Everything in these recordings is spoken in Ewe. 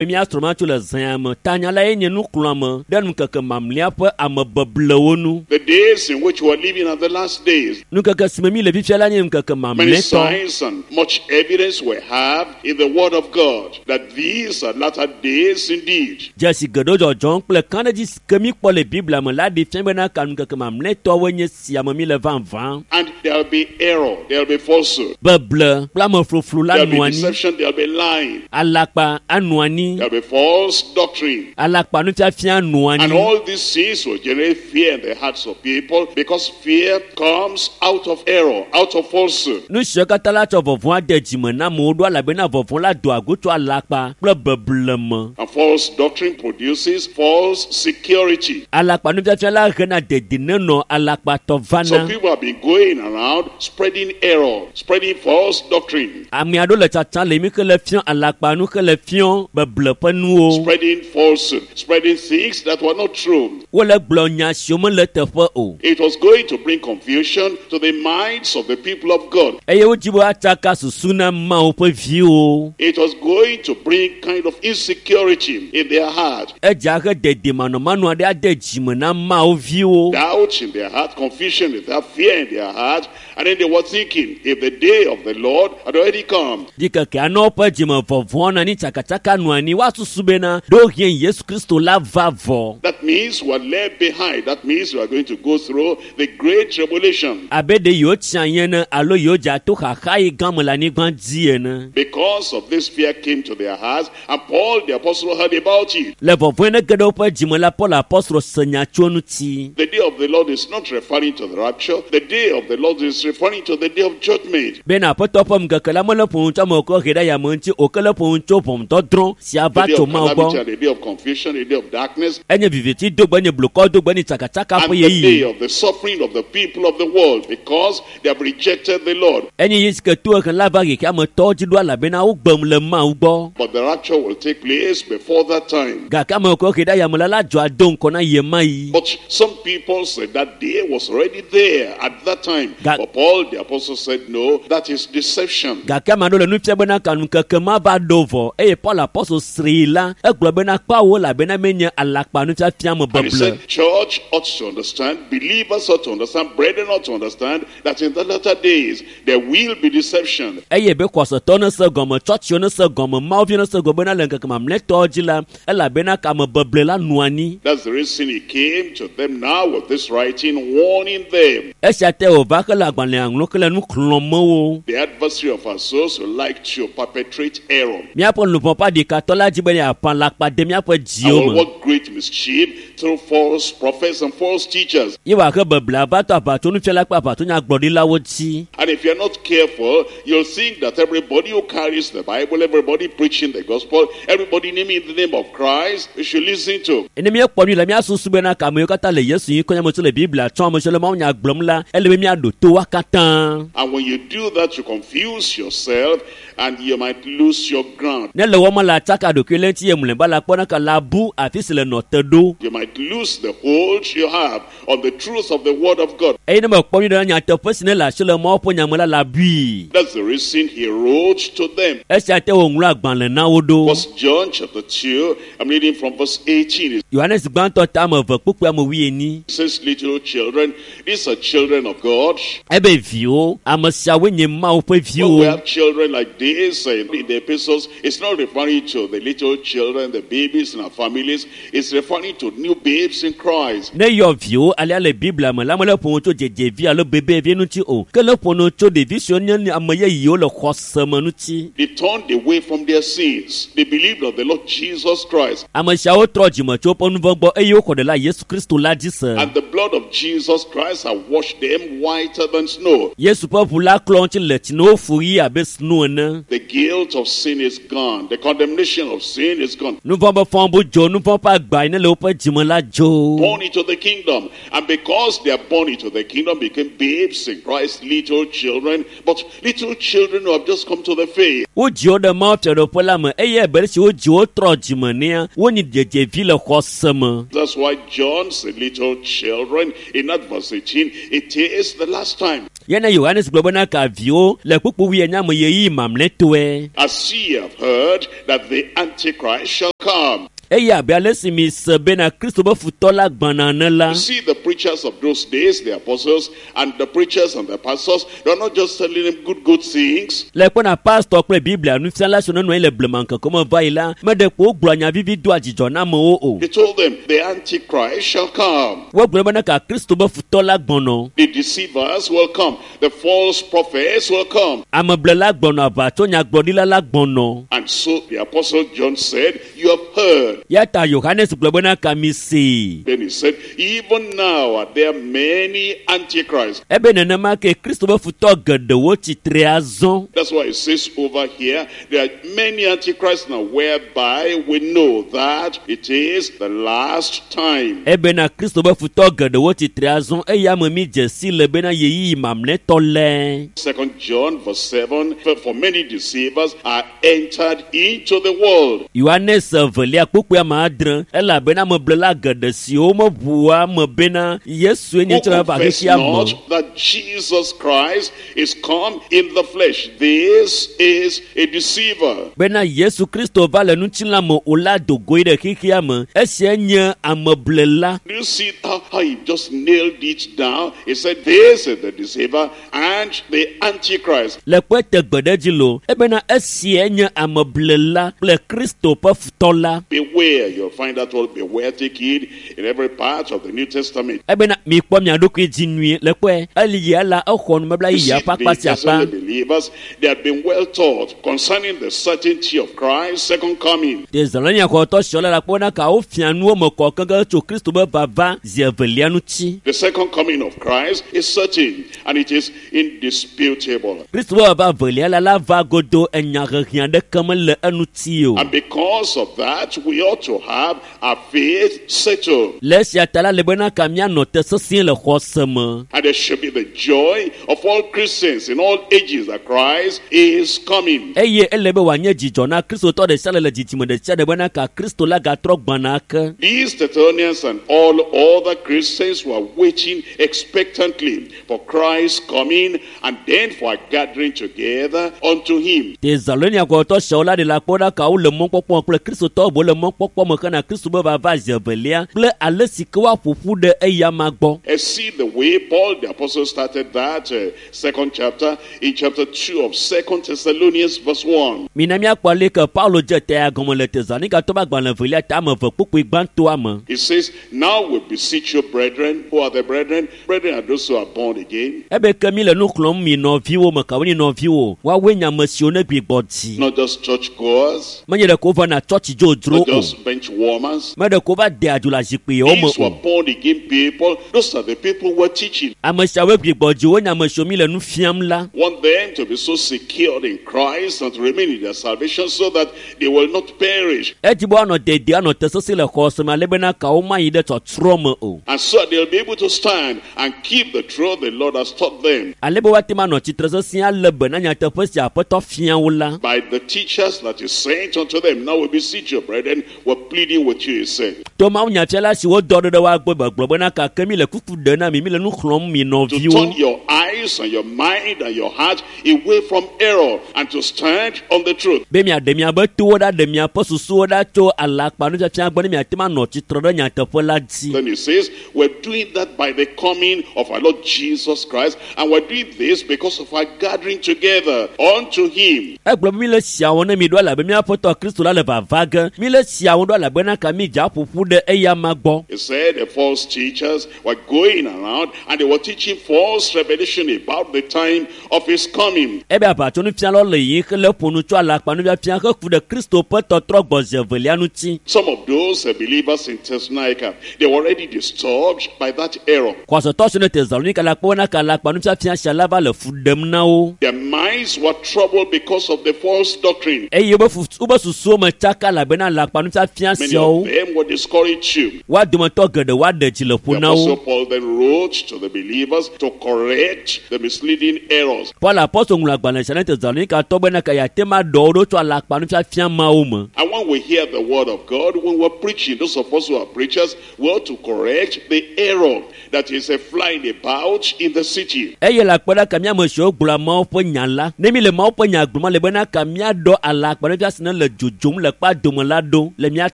Míasrɔ̃ ma tso le zãya me. Tanya la ye nye nuxlɔ̃ame ɖe ŋkeke mamlɛa ƒe amebeblewo nu. The days in which we are living are the last days. Ŋkeke si me mí le fifia la nye ŋkeke Many mamlɛtɔ. signs and much evidence we have in the Word of God that these are latter days indeed. Dzesi geɖewo dzɔdzɔm kple kãɖedzi si ke míkpɔ le Biblia me la ɖi fia bena ka ŋkeke mamlɛtɔwoe nye sia me míle vavã. And there will be error, there will be falsehood, Beble kple amefluflu la there will nɔ be anyi. deception, there will be lying, Alakpa anɔ anyi. there will be false doctrine. Alakpa nufiafia nɔ And anyi. all these things will generate fear in the hearts of people because fear comes out of error, out of falsehood. Nu siawo katã la tsɔ vɔvɔ̃ ade dzime na amewo ɖo elabena vɔvɔ̃ la doa go tso alakpa kple beble me. And false doctrine produces false security. Alakpa nufiafia la hena dedinenɔ alakpatɔ Some vana. people have been going around spreading error, spreading false doctrine, Ame aɖewo le tsatsam le mi ke le fiɔ alakpa nu ke le fiɔ beble ƒe nuwo. spreading falsehood, spreading things that were not true. Wole gblɔ nya siwo mele teƒe o. It was going to bring confusion to the minds of the people of God. Eye wodzi be woatsaka susu na Mawu ƒe viwo. It was going to bring kind of insecurity in their heart, Edza he dedemanɔmanɔ aɖe ade dzime na Mawu viwo. doubt in their heart, confusion in their fear in their heart. And then they were thinking, if the day of the Lord had already come, Ɖikeke anɔ woƒe dzime vɔvɔ̃ nɔ anyi tsakatsaka nɔ anyi woasusu bena ɖewohĩ Yesu Kristo la va vɔ. that means we are left behind. That means we are going to go through the great tribulation. Abe ɖe yewo tsi anyi ene alo yewo dze ato xaxa yi gã me le anyigba dzi ene. Because of this fear came to their hearts, and Paul the apostle heard about it. Le vɔvɔ̃ ne ge ɖe woƒe dzime la, Paul apostolo se nya tso eŋuti. The day of the Lord is not referring to the rapture. The day of the Lord is referring to the day of judgment. Bena Aƒetɔ ƒe ŋkeke la mele ƒo nu tso ame kɔ he ɖe yame ŋuti o ke le ƒo nu tso ʋɔnudɔdrɔ̃ si The ava day tso of Mawu calamity gbɔ. and the day of confusion, the day of darkness, Enye viviti dogbe, enye blukɔ dogbe, enye tsakatsaka and ƒe the day ɣeyiɣi. of the suffering of the people of the world because they have rejected the Lord. Enye yi si ke to ehe la va xexea me tɔwo dzi ɖo elabena wogbem le Mawu gbɔ. But the rapture will take place before that time. Gake ame kɔ he ɖe yame la la dzɔ ado ŋgɔ na ɣe ma ɣi. But some people said that day was already there at that time. But Paul the apostle said, no, that is deception. Gake ame aɖewo le nu fia bena ka ŋkeke ma va ɖo vɔ eye Paul apostol srii la egblɔ bena kpawo elabena menye alakpa nufiafia me And he beble. said, church ought to understand, believers ought to understand, brethren ought to understand that in the latter days there will be deception. Eye be xɔsetɔ ne se gɔme, tsɔtsiwo ne se gɔme, mawuviwo ne se gɔme bena le ŋkeke mamlɛtɔwo dzi la, elabena ka ame beble la nɔ anyi. That's the reason he came to them now with this writing, warning them. Esia te wòva hele agbalẽa ŋlɔm hele nu xlɔ̃m wo. The adversary of our souls would like to perpetrate error Míaƒe luʋɔ ƒe aɖikatɔ la dzi be yeaƒã alakpa de míaƒe and dziwo will me. work great mischief through false prophets and false teachers. Ye wòahe beblea va to aʋatsonufiala kple aʋatsonyagblɔɖilawo dzi. And if you're not careful, you'll think that everybody who carries the Bible, everybody preaching the gospel, everybody naming the name of Christ, you should listen to. Ne míekpɔ nui la, míasusu bena ka amewo katã le Yesu ŋu kɔnya me tso le Biblia tsɔm, ame siwo le mawunya gblɔm la, ele be míaɖo to woa katã. And when you do that, you confuse yourself and you might lose your ground. Ne le wɔma la tsaka ɖokui le ŋuti ye mlɔeba la kpɔna ka la bu afi si le nɔ te ɖo. You might lose the hold you have on the truth of the Word of God. Eye ne mekpɔ nyuie ɖe nyateƒe si ne le asi le Mawu ƒe nya me la, la bui. That's the reason he wrote to them. Esia te wòŋlɔ agbalẽ na wo ɖo. First John chapter 2, I'm reading from verse 18. It Yohanes gbãtɔ ta ame eve kpukpui ame wuienyi. says, Little children, these are children of God. Ebe viwo, ame siawoe nye Mawu ƒe When we viwo. have children like this in the epistles, it's not referring to the little children, the babies in our families. It's referring to new babes in Christ. Ne yɔ viwo alea le Biblia me la, mele ƒo nu tso dzedzevi alo bebevi ŋuti o, ke le ƒo nu tso ɖevi siwo nye ame yeyewo le xɔse me ŋuti. They turned away from their sins. They believed on the Lord Jesus Christ. Ame siawo trɔ dzime tso woƒe nu vɔ̃ gbɔ eye woxɔ ɖela Yesu Kristo la dzi se. And the blood of Jesus Christ had washed them whiter than snow. Yesu ƒe ʋu la klɔ ŋuti le tsi ne wofu ɣi abe sno ene. The guilt of sin is gone. The condemnation of sin is gone. Nu vɔ̃ be fɔbu dzo, nu vɔ̃ ƒe agba yi ne le woƒe dzime la dzo. Born into the kingdom. And because they are born into the kingdom, became babes in Christ, little children, but little children who have just come to the faith. Wodzi wo ɖe Mawu fiaɖuƒe la me eye abe ale si wodzi wo trɔ dzime nea, wonyi dzedzevi le xɔse me. That's why John said, little children. children in that verse 18, it is the last time. Yena Yohanes gblɔ bena ka viwo le kpukpu wuienyi me ɣeyiɣi mamlɛtɔe. As ye have heard that the Antichrist shall come. Eye abe ale si mi se bena Kristo be futɔ la gbɔna ene la. You see, the preachers of those days, the apostles and the preachers and the pastors, they are not just telling them good, good things. Le kpɔna pastor kple Biblia nufiala siwo nenɔ anyi le blema ŋkeke me va yi la, meɖe kpo wogblɔa nya vivi doa dzidzɔ na amewo o. They told them, the Antichrist shall come. Wogblɔ bena ka Kristo be futɔ la gbɔnɔ. The deceivers will come. The false prophets will come. Ameblela gbɔnɔ, aʋatsonyagblɔɖila la gbɔnɔ. And so the apostle John said, you have heard. Ya ta Yohanes gblɔ bena ka mi see. Then he said, even now are there many antichrists. Ebe nenema ke Kristo be futɔ geɖewo tsitre azɔ. That's why it says over here, there are many antichrists now, whereby we know that it is the last time. Ebena Kristo be futɔ geɖewo tsitre azɔ eye ame mi dze si le bena ɣeyiɣi mamlɛtɔ le. 2 John verse 7, for many deceivers are entered into the world. Yohanes evelia kpukpui ame adre, elabena ameblela geɖe siwo meʋua me bena Yesue nye Who tsɔ va confess xexea me. not that Jesus Christ is come in the flesh. This is a deceiver. Bena Yesu Kristo va le ŋutilã me o la do goe ɖe xexea me. Esia nye ameblela. Do you see how he just nailed it down? He said, this is the deceiver and the Antichrist. Le kpe te gbe ɖe dzi lo, ebena esia nye ameblela kple Kristo ƒe futɔ la. Beware, you'll find that word beware, take heed in every part of the New Testament. Ebena mi kpɔ mia ɖokui dzi nyuie le kpɔe eli ya la exɔ nubabla You yeyea see, ƒe akpa the sia akpa. Thessalonian believers, they had been well taught concerning the certainty of Christ's second coming. Tesalonia xɔtɔ siawo la kpɔ na ka wofia nuwo me kɔ keŋkeŋ tso Kristo be vava zi evelia ŋuti. The second coming of Christ is certain and it is indisputable. Kristo be vava evelia la va godo enya hehe aɖeke mele eŋuti o. And because of that, we ought to have our faith settled. Le esia ta la le bena ka míanɔ te sesĩe le xɔse me. And there should be the joy of all Christians in all ages that Christ is coming. Eye ele be wòanye dzidzɔ na Kristotɔ ɖe sia ɖe le dzidzime ɖe sia ɖe bena ka Kristo la gatrɔ gbɔna ake. These Thessalonians and all other Christians were waiting expectantly for Christ's coming and then for our gathering together unto him. Tesalonia xɔtɔ siawo la ɖe la kpɔ ɖa ka wole mɔkpɔkpɔ kple Kristotɔwo bo le mɔkpɔkpɔ me hena Kristo be vava zi evelia kple ale si ke woaƒo ƒu ɖe eyama gbɔ. And see the way Paul the apostle started that second chapter in chapter 2 of 2 Thessalonians verse 1. Mina míakpɔ ale ke Paulo dze ta ya gɔme le Tesalonikatɔwo ƒe agbalẽ evelia ta ame eve kpukpui gbãtɔa me. He says, now we beseech you, brethren. Who are the brethren? Brethren are those who are born again. Ebe ke mi le nu xlɔ̃m mi nɔviwo me kawo nye nɔviwo, woawoe nye ame siwo ne gbigbɔ dzi. Not just churchgoers, Menye ɖeko wovana tsɔtsi dzodzro not o. just bench warmers. Me ɖeko wova dea dzo le zikpuiwo me These were o. born again people. Those are the people we're teaching. Ame siawoe gbigbɔ dzi wonye ame siwo mi le nu fiam la. Want them to be so secured in Christ and to remain in their salvation so that they will not perish. Edi be woanɔ dedie anɔ te sesĩ le xɔse me ale bena kawo mayi ɖe tsɔtsrɔ̃ me o. And so they'll be able to stand and keep the truth the Lord has taught them Ale be woate ŋu anɔ tsitre sesĩ ale be na nyateƒe si Aƒetɔ fia wo la. by the teachers that is sent unto them. Now we beseech you, brethren, we're pleading with you, he said, To Mawu nyafiala siwo dɔ ɖe ɖe woa gbɔ be gblɔ bena gake mi le kuku ɖe na mi, mi le nu xlɔ̃m mi to nɔviwo. turn your eyes and your mind and your heart away from error and to stand on the truth. Be miaɖe miaƒe towo ɖa, ɖe miaƒe susuwo ɖa tso alakpanufiafia gbɔ ne miate ŋu anɔ tsitre ɖe nyateƒe la dzi. Then he says, we're doing that by the coming of our Lord Jesus Christ, and we're doing this because of our gathering together unto him. Egblɔ be mi le sia wɔm ne mi ɖo elabe míaƒe Kristo la le vava ge. Mi le sia wɔm ɖo elabena ka mi dze aƒoƒu ɖe eyama gbɔ. He said the false teachers were going around and they were teaching false revelation about the time of his coming. Ebe aʋatsonufialawo le yiyim hele ƒo nu tso alakpanufiafia heku ɖe Kristo ƒe tɔtrɔ gbɔ zi evelia ŋuti. Some of those believers in Thessalonica, they were already disturbed by that error. Xɔsetɔ siwo le Tesalonika la kpɔ bena ka alakpanufiafia sia la va le fu ɖem na wo. Their minds were troubled because of the false doctrine. Eye wobe wobe susuwo me tsaka elabena alakpanufiafia alakpanufiafia Many siawo of them will discourage you. woa dometɔ geɖe woaɖe dzi le ƒo The na wo Apostle Paul then wrote to the believers to correct the misleading errors. Paul apɔstol ŋlɔ agbalẽ sia na Tesalonikatɔ bena ka yeate ma ɖɔ wo ɖo tso alakpanufiafia mawo me And when we hear the word of God, when we're preaching, those of us who are preachers, we ought to correct the error that is flying about in the city. Eye le akpe ɖa ka mía ame siwo gblɔa Mawu ƒe nya la ne mi le Mawu ƒe nya gblɔm ale bena ka míaɖɔ alakpanufiafia si ne le dzodzom le kpa dome la ɖo le mía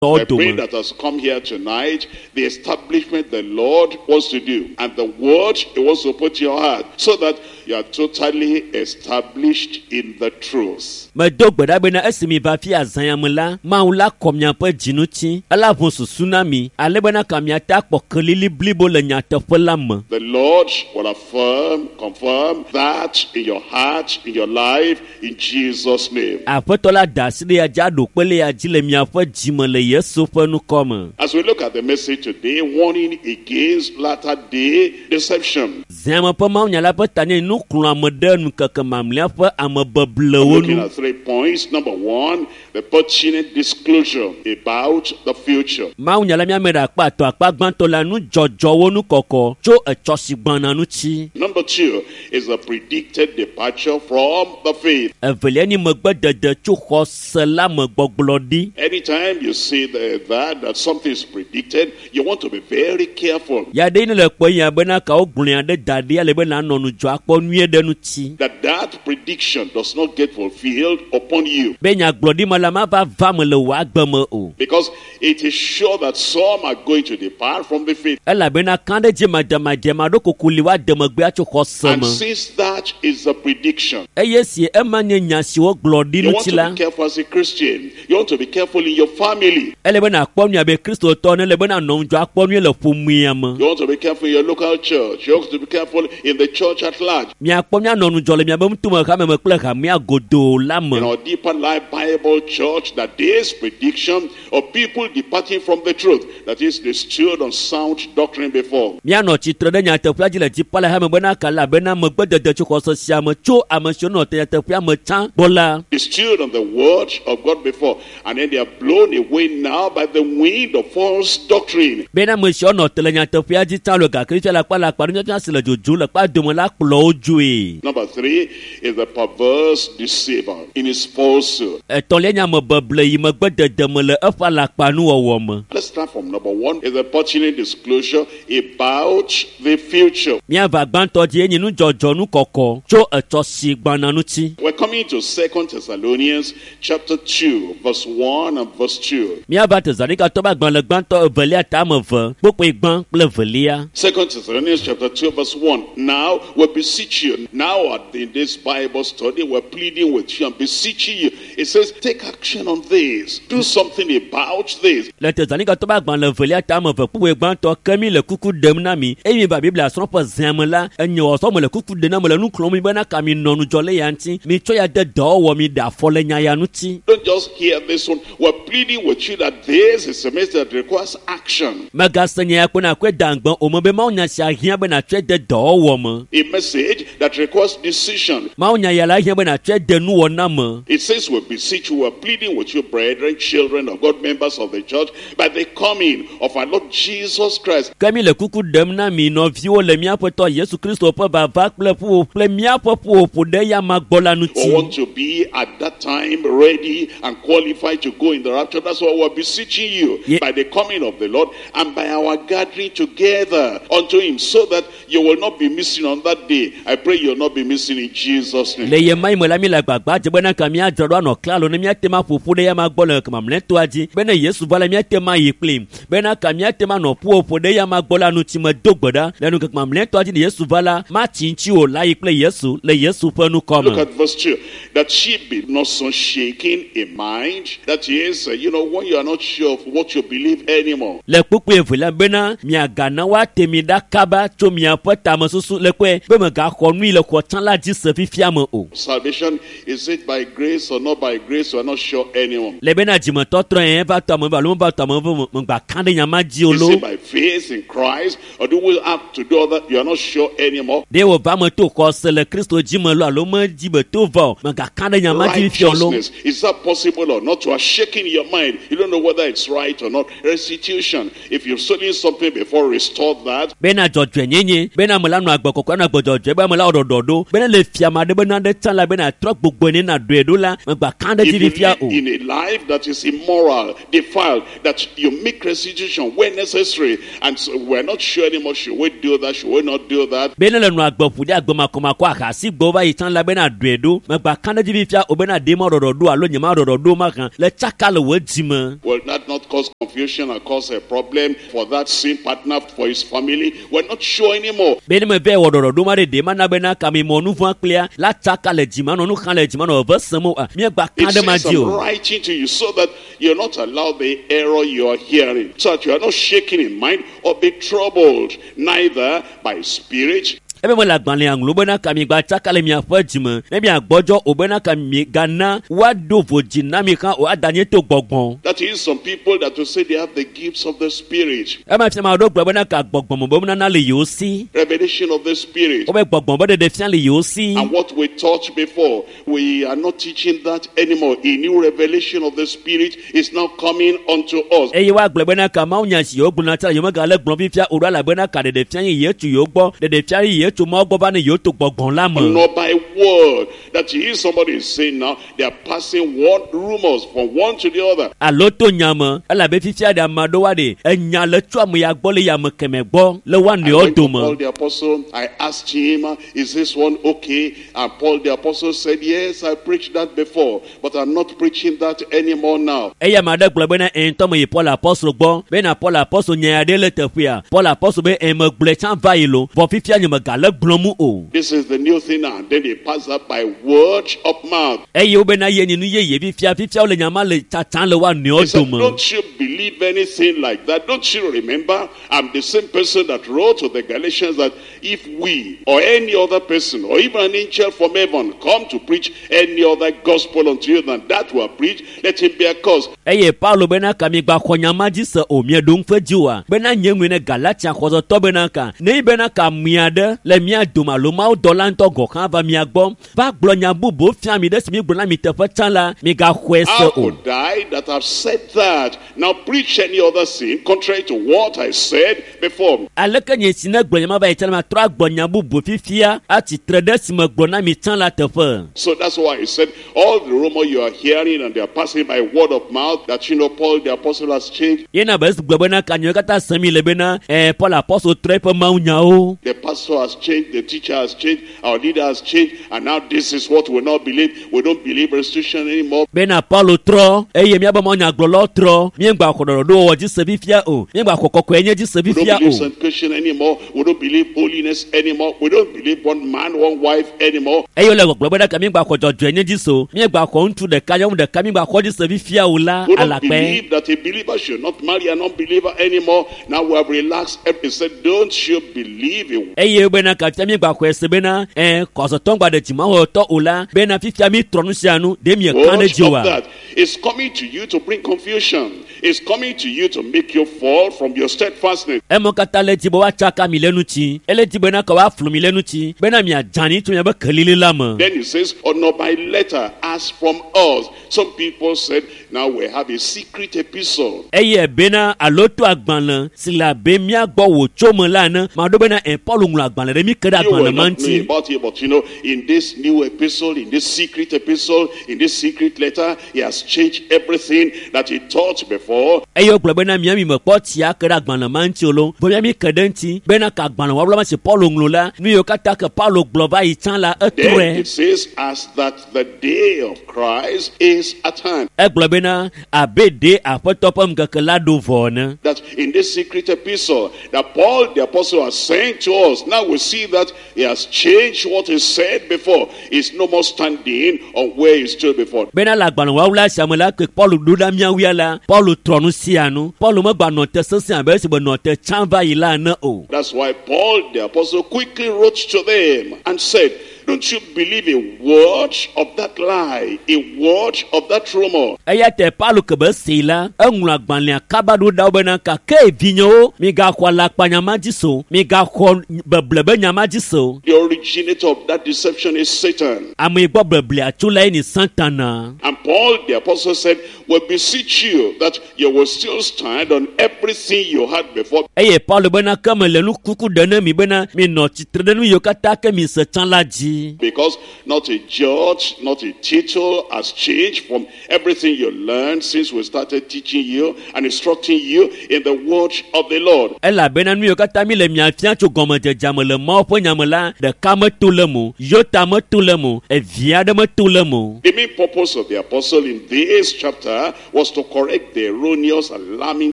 tɔwo I pray dome that has come here tonight, the establishment the Lord wants to do, and the word He wants to put in your heart, so that you are totally established in the truth. Medo gbe ɖa bena esi mi va fi azã me la Mawu la kɔ miaƒe dzi ŋuti ela ʋu susu na mi ale bena ka miate akpɔ kelili blibo le nyateƒe la me The Lord will affirm, confirm that in your heart, in your life, in Jesus' name. Aƒetɔ la da asi ɖe ya dzi aɖo kpe le ya dzi le miaƒe dzime le Yesu ƒe ŋkɔ me As we look at the message today, warning against latter day deception. Zãme ƒe mawunya la ƒe ta nye nuxlɔ̃ame ɖe ŋkeke mamlɛa ƒe amebeblewo Looking nu at 3 points. Number 1, the pertinent disclosure about the future. Mawunya la míame ɖe akpa atɔ̃ akpa gbãtɔ la nudzɔdzɔwo nukɔkɔ tso etsɔ si gbɔna ŋuti Number 2 is the predicted departure from the faith. Evelia nye megbedede tso xɔse la me gbɔgblɔ ɖi Anytime you see that something is predicted, you want to be very careful. Ya ɖe ne le kpɔ ya bena kawo gblɔe ɖe da ɖi ale be nanɔ nudzɔ akpɔ nyuie ɖe ŋuti That prediction does not get fulfilled upon you. Be nyagblɔɖi ma la mava va me le wò agbe me o Because it is sure that some are going to depart from the faith. Elabena kã ɖe dzi madzemadze ma ɖo koko li woade megbe atso xɔse And me since that is a prediction, Eye si ema nye nya si wogblɔ ɖi you want ŋuti to la be careful as a Christian. You want to be careful in your family. Ele be nàkpɔ nyuie abe Kristotɔ ne ele be nànɔ ŋudzɔ akpɔ nyuie le ƒomea me You want to be careful in your local church. You want to be careful in the church at large. Miakpɔ mianɔ ŋudzɔ le miabe ŋutume hame me kple hamea godoo la me In our Deeper Life Bible Church, that this prediction of people departing from the truth, that is, they stood on sound doctrine before. Mianɔ tsitre ɖe nyateƒea dzi le dzipa le hame bena kala bena megbedede tso xɔse sia me tso ame siwo nɔ te nyateƒea me tsã gbɔ la They stood on the word of God before, and then they are blown away now by the wind of false doctrine. Bena ame siwo nɔ te le nyateƒea dzi tsã le gake fia le akpa le akpa nufiafia si le dzodzom le kpa dome la kplɔ wo dzoe Number 3 is the perverse deceiver in his falsehood. Etɔ̃lia nye amebeble yi megbedede me le eƒe alakpanuwɔwɔ me Let's start from number 1 is the pertinent disclosure about the future. Míava gbãtɔ dzi enye nudzɔdzɔ nukɔkɔ tso etsɔ si gbɔna ŋuti We're coming to 2 Thessalonians chapter 2, verse 1 and verse 2. Míava Tesalonikatɔ ƒe agbalẽ gbãtɔ evelia ta ame eve kpukpui gbã kple evelia 2 Thessalonians chapter 2, verse 1. Now we beseech you. Now in this Bible study, we're pleading with you and beseeching you. It says, take action on this. Do something about this. Le Tesalonikatɔ ƒe agbalẽ evelia ta ame eve kpukpui gbãtɔ ke mi le kuku ɖem na mi eye mi va Biblia srɔ̃ƒe zã me la enye wɔsɔ me le kuku ɖem na me le nu xlɔ̃m mi bena ka mi nɔ ŋudzɔ le ya ŋuti mi tsɔ ya de dɔwɔwɔ mi ɖe afɔ le nya ya ŋuti Don't just hear this one. We're pleading with you that this is a message that requires action. Megase nya ya kpe na kɔe da ŋgbe o me be Mawu nya sia hiã be nàtsɔe de dɔwɔwɔ me A message that requires decision. Mawu nya ya la hiã be nàtsɔe de nuwɔna me It says we beseech you, we're pleading with you, brethren, children of God, members of the church, by the coming of our Lord Jesus Christ. Ke mi le kuku ɖem na mi nɔviwo le míaƒe tɔ Yesu Kristo ƒe vava kple ƒuƒoƒo kple míaƒe ƒuƒoƒo ɖe ya ma gbɔ la We ŋuti want to be at that time ready and qualified to go in the rapture. That's why we're beseeching you by the coming of the Lord and by our gathering together unto him, so that you will not be missing on that day. I pray you'll not be missing in Jesus' name. Le ye ma yi me la mi le agbagba dze bena ka míadzra ɖo anɔ klalo ne míate ma ƒoƒu ɖe ya ma gbɔ le mamlɛtɔa dzi bene Yesu va la míate ma yi kplim bena ka míate ma nɔ ƒuƒoƒo ɖe ya ma gbɔ la ŋuti me do gbe ɖa le ŋkeke mamlɛtɔa dzi ne Yesu va la matsi ŋuti o la yi kple Yesu le Yesu ƒe ŋkɔ me Look at verse 2. That she be not so shaken in mind. That is, when you are not sure of what you believe anymore. Le kpukpui evelia bena miagana woate mi ɖa kaba tso miaƒe tamesusu le kpɔe be megaxɔ Megbaxɔ nu yi le xɔ tsã la dzi se fifia me o. Salvation, is it by grace or not by grace? We are not sure anymore. Le bena dzimetɔtrɔ yɛn va tɔ ame ve alo meva tɔ ame ve megba ka ɖe nya ma dzi o Is lo. it by faith in Christ or do we have to do other? You are not sure anymore. Ɖe wòva me to xɔse le Kristo dzi me lo alo medzi be to va o megaka ɖe nya ma dzi fifia o lo. Righteousness, is that possible or not? You are shaking your mind. You don't know whether it's right or not. Restitution, if you've stolen something before, restore that. Bena dzɔdzɔenyenye bena ame la nɔ agbe kɔkɔe anɔ agbe dzɔdzɔe be ame la wɔ ɖɔɖɔ ɖo bena le fia ame aɖe bena ɖe tsã la bena trɔ gbogbo ne na ɖoe ɖo la megba ka ɖe dzi If you fifia live o. in a life that is immoral, defiled, that you make restitution when necessary, and so we're not sure anymore, should we do that, should we not do that? Bena le nɔ agbe ƒo ɖe agbe makɔmakɔ ahasi gbɔ va yi tsã la bena ɖoe ɖo megba ka ɖe dzi fifia o bena ɖe ma ɖɔɖɔ ɖo alo nye ma ɖɔɖɔ ɖo mahã le tsaka le wò dzi me. Will that not cause confusion and cause a problem for that sin partner, for his family? We're not sure anymore. Be ne me vɛ wɔ ɖɔɖɔɖo ma ɖe ɖe mana bena kame mɔ nu vɔ̃ kplia la tsaka le dzime anɔ nu xam le dzime anɔ veve sem o míegba ka It ɖe ma says, dzi I'm o. writing to you so that you're not allowed the error you are hearing, so that you are not shaken in mind or be troubled, neither by spirit, Ebe mele agbalẽa ŋlɔ bena ka miegba tsaka le miaƒe dzime ne miagbɔdzɔ o bena ka miegana woaɖo vodzi na mi hã o ada nye to gbɔgbɔ. That is, some people that will say they have the gifts of the Spirit, Ema fia ame aɖewo gblɔ bena ka gbɔgbɔme be nunana le yewo si. revelation of the Spirit. Wobe gbɔgbɔ be ɖeɖe fia le yewo si. And what we taught before, we are not teaching that anymore. A new revelation of the Spirit is now coming unto us. Eye woagblɔ bena ka mawunya si yewo gblɔna tsã la yewo megale gblɔm fifia o ɖo elabena ka ɖeɖe fia ye tso yewo gbɔ ɖeɖe fia ye tso Mawu gbɔ va ne yewo to gbɔgbɔ la me. Not by word. That is, somebody is saying now, they are passing one rumors from one to the other. Alo to nya me elabe fifia ɖe ame aɖewo ɖe enya le tso ame ya gbɔ le ya ame kemɛ gbɔ le woa I nɔewo went to dome. Paul the apostle, I asked him, is this one okay? And Paul the apostle said, yes, I preached that before, but I'm not preaching that anymore now. Eye ame aɖe gblɔ bena ɛ ŋutɔ me yi Paul apɔstol gbɔ bena Paul apɔstol nya aɖe le teƒea. Paul apɔstol be ɛ megblɔe tsã va yi lo vɔ fifia nye megale gblɔm o. This is the new thing now. And then they pass that by word of mouth. Eye wobena ye nye nu yeye fifia fifia wole nya ma le tsatsam le woa He nɔewo said, dome. don't you believe anything like that? Don't you remember? I'm the same person that wrote to the Galatians that if we or any other person or even an angel from heaven come to preach any other gospel unto you than that we have preached, let him be accursed. Eye Paulo bena ka miegba xɔ nya ma dzi se o mieɖo ŋu ƒe dzi oa bena nye ŋue ne Galatia xɔsetɔ bena ka ne yi bena ka mia ɖe le mia dome alo Mawu dɔla ŋutɔ gɔ̃ hã va mia gbɔ va gblɔ nya bubuwo fia mi ɖe si mi gblɔ na mi teƒe tsã la migaxɔe se How o. could I that have said that now preach any other thing contrary to what I said before? Aleke nye si ne gblɔ nya ma va yi tsã la matrɔ agblɔ nya bubu fifia atsitre ɖe si me gblɔ na mi tsã la teƒe. So that's why I said all the rumor you are hearing and they are passing by word of mouth that you know Paul the apostle has changed, Yena be esi gblɔ bena ka nyewo katã sem mi le bena ɛ Paul apɔstol trɔ eƒe mawunyawo. the pastor has changed, the teacher has changed, our leader has changed, and now this is what we not believe. We don't believe restitution anymore. Bena Paulo trɔ eye míabe mawunyagblɔlawo trɔ míegba xɔ ɖɔɖɔɖowɔwɔ dzi se fifia o míegba xɔ kɔkɔe nye dzi se We don't fifia believe o. sanctification anymore. We don't believe holiness anymore. We don't believe one man, one wife anymore. Eye wole gbɔgblɔ bena ka míegba xɔ dzɔdzɔe nye dzi se o míegba xɔ ŋutsu ɖeka nyɔnu ɖeka míegba xɔ dzi se fifia o la We don't alakpɛ. believe that a believer should not marry an unbeliever anymore. Now we have relaxed. He said, don't you believe in Eye bena ka fifia míegba xɔe se bena ɛ kɔsɔtɔ ŋgba ɖe dzimawɔtɔ o la bena fifia mi trɔ nu sia nu ɖe mieka ɖe Watch dzi of oa. that. It's coming to you to bring confusion. It's coming to you to make you fall from your steadfastness. Emɔ katã le dzi be woatsaka mi le ŋuti ele dzi bena ka woaflu mi le ŋuti bena miadzani tso miabe kelili la me. Then he says, or not by letter, as from us. Some people said, now we have a secret epistle. Eye bena alo to agbalẽ si le abe mía gbɔ wòtso me la ene maɖo bena ɛ Paul ŋlɔ agbalẽ ɖe mí ke ɖe You will agbalẽ ma not know ŋuti. about it, but you know, in this new epistle, in this secret epistle, in this secret letter, he has changed everything that he taught before. Eye wogblɔ bena mía mi mekpɔ tsia ke ɖe agbalẽ ma ŋuti o lo vɔ mía mi ke ɖe ŋuti bena ka agbalẽ wɔwɔla ma si Paul ŋlɔ la nu yiwo katã ke Paulo gblɔ va yi tsã la Then etrɔe. it says, as that the day of Christ is at hand. Egblɔ bena abe ɖe aƒetɔ ƒe ŋkeke la ɖo vɔ ene. That in this secret epistle that Paul the apostle has sent to us, now we see that he has changed what he said before. He's no more standing on where he stood before. Bena le agbalẽ wawula sia me la ke Paulo ɖo ɖa míawuia la, Paulo trɔ nu sia nu. Paulo megba nɔ te sesẽ abe esi be nɔ te tsã va yi la ene o. That's why Paul the apostle quickly wrote to them and said, don't you believe a word of that lie, a word of that rumor. Eya ta Paulo ke be see la, eŋlɔ agbalẽa kaba ɖo ɖa wo bena gake vinyewo, migaxɔ alakpanya ma dzi se o, migaxɔ beble be nya ma dzi se o. The originator of that deception is Satan. Ame yi gbɔ beblea tso lae nye Satana. And Paul the apostle said, we beseech you that you will still stand on everything you had before. Eye Paulo bena ke mele nu kuku ɖe ne mi bena minɔ tsitre ɖe nu yiwo katã ke mi se tsã la dzi. Because not a judge, not a tittle has changed from everything you learned since we started teaching you and instructing you in the word of the Lord. Elabena nu yiwo katã mi le mia fia tso gɔmedzedzea me le Mawu ƒe nya me la, ɖeka meto le eme o, yota meto le eme o, evi aɖe meto le eme o. The main purpose of the apostle in this chapter was to correct the erroneous, alarming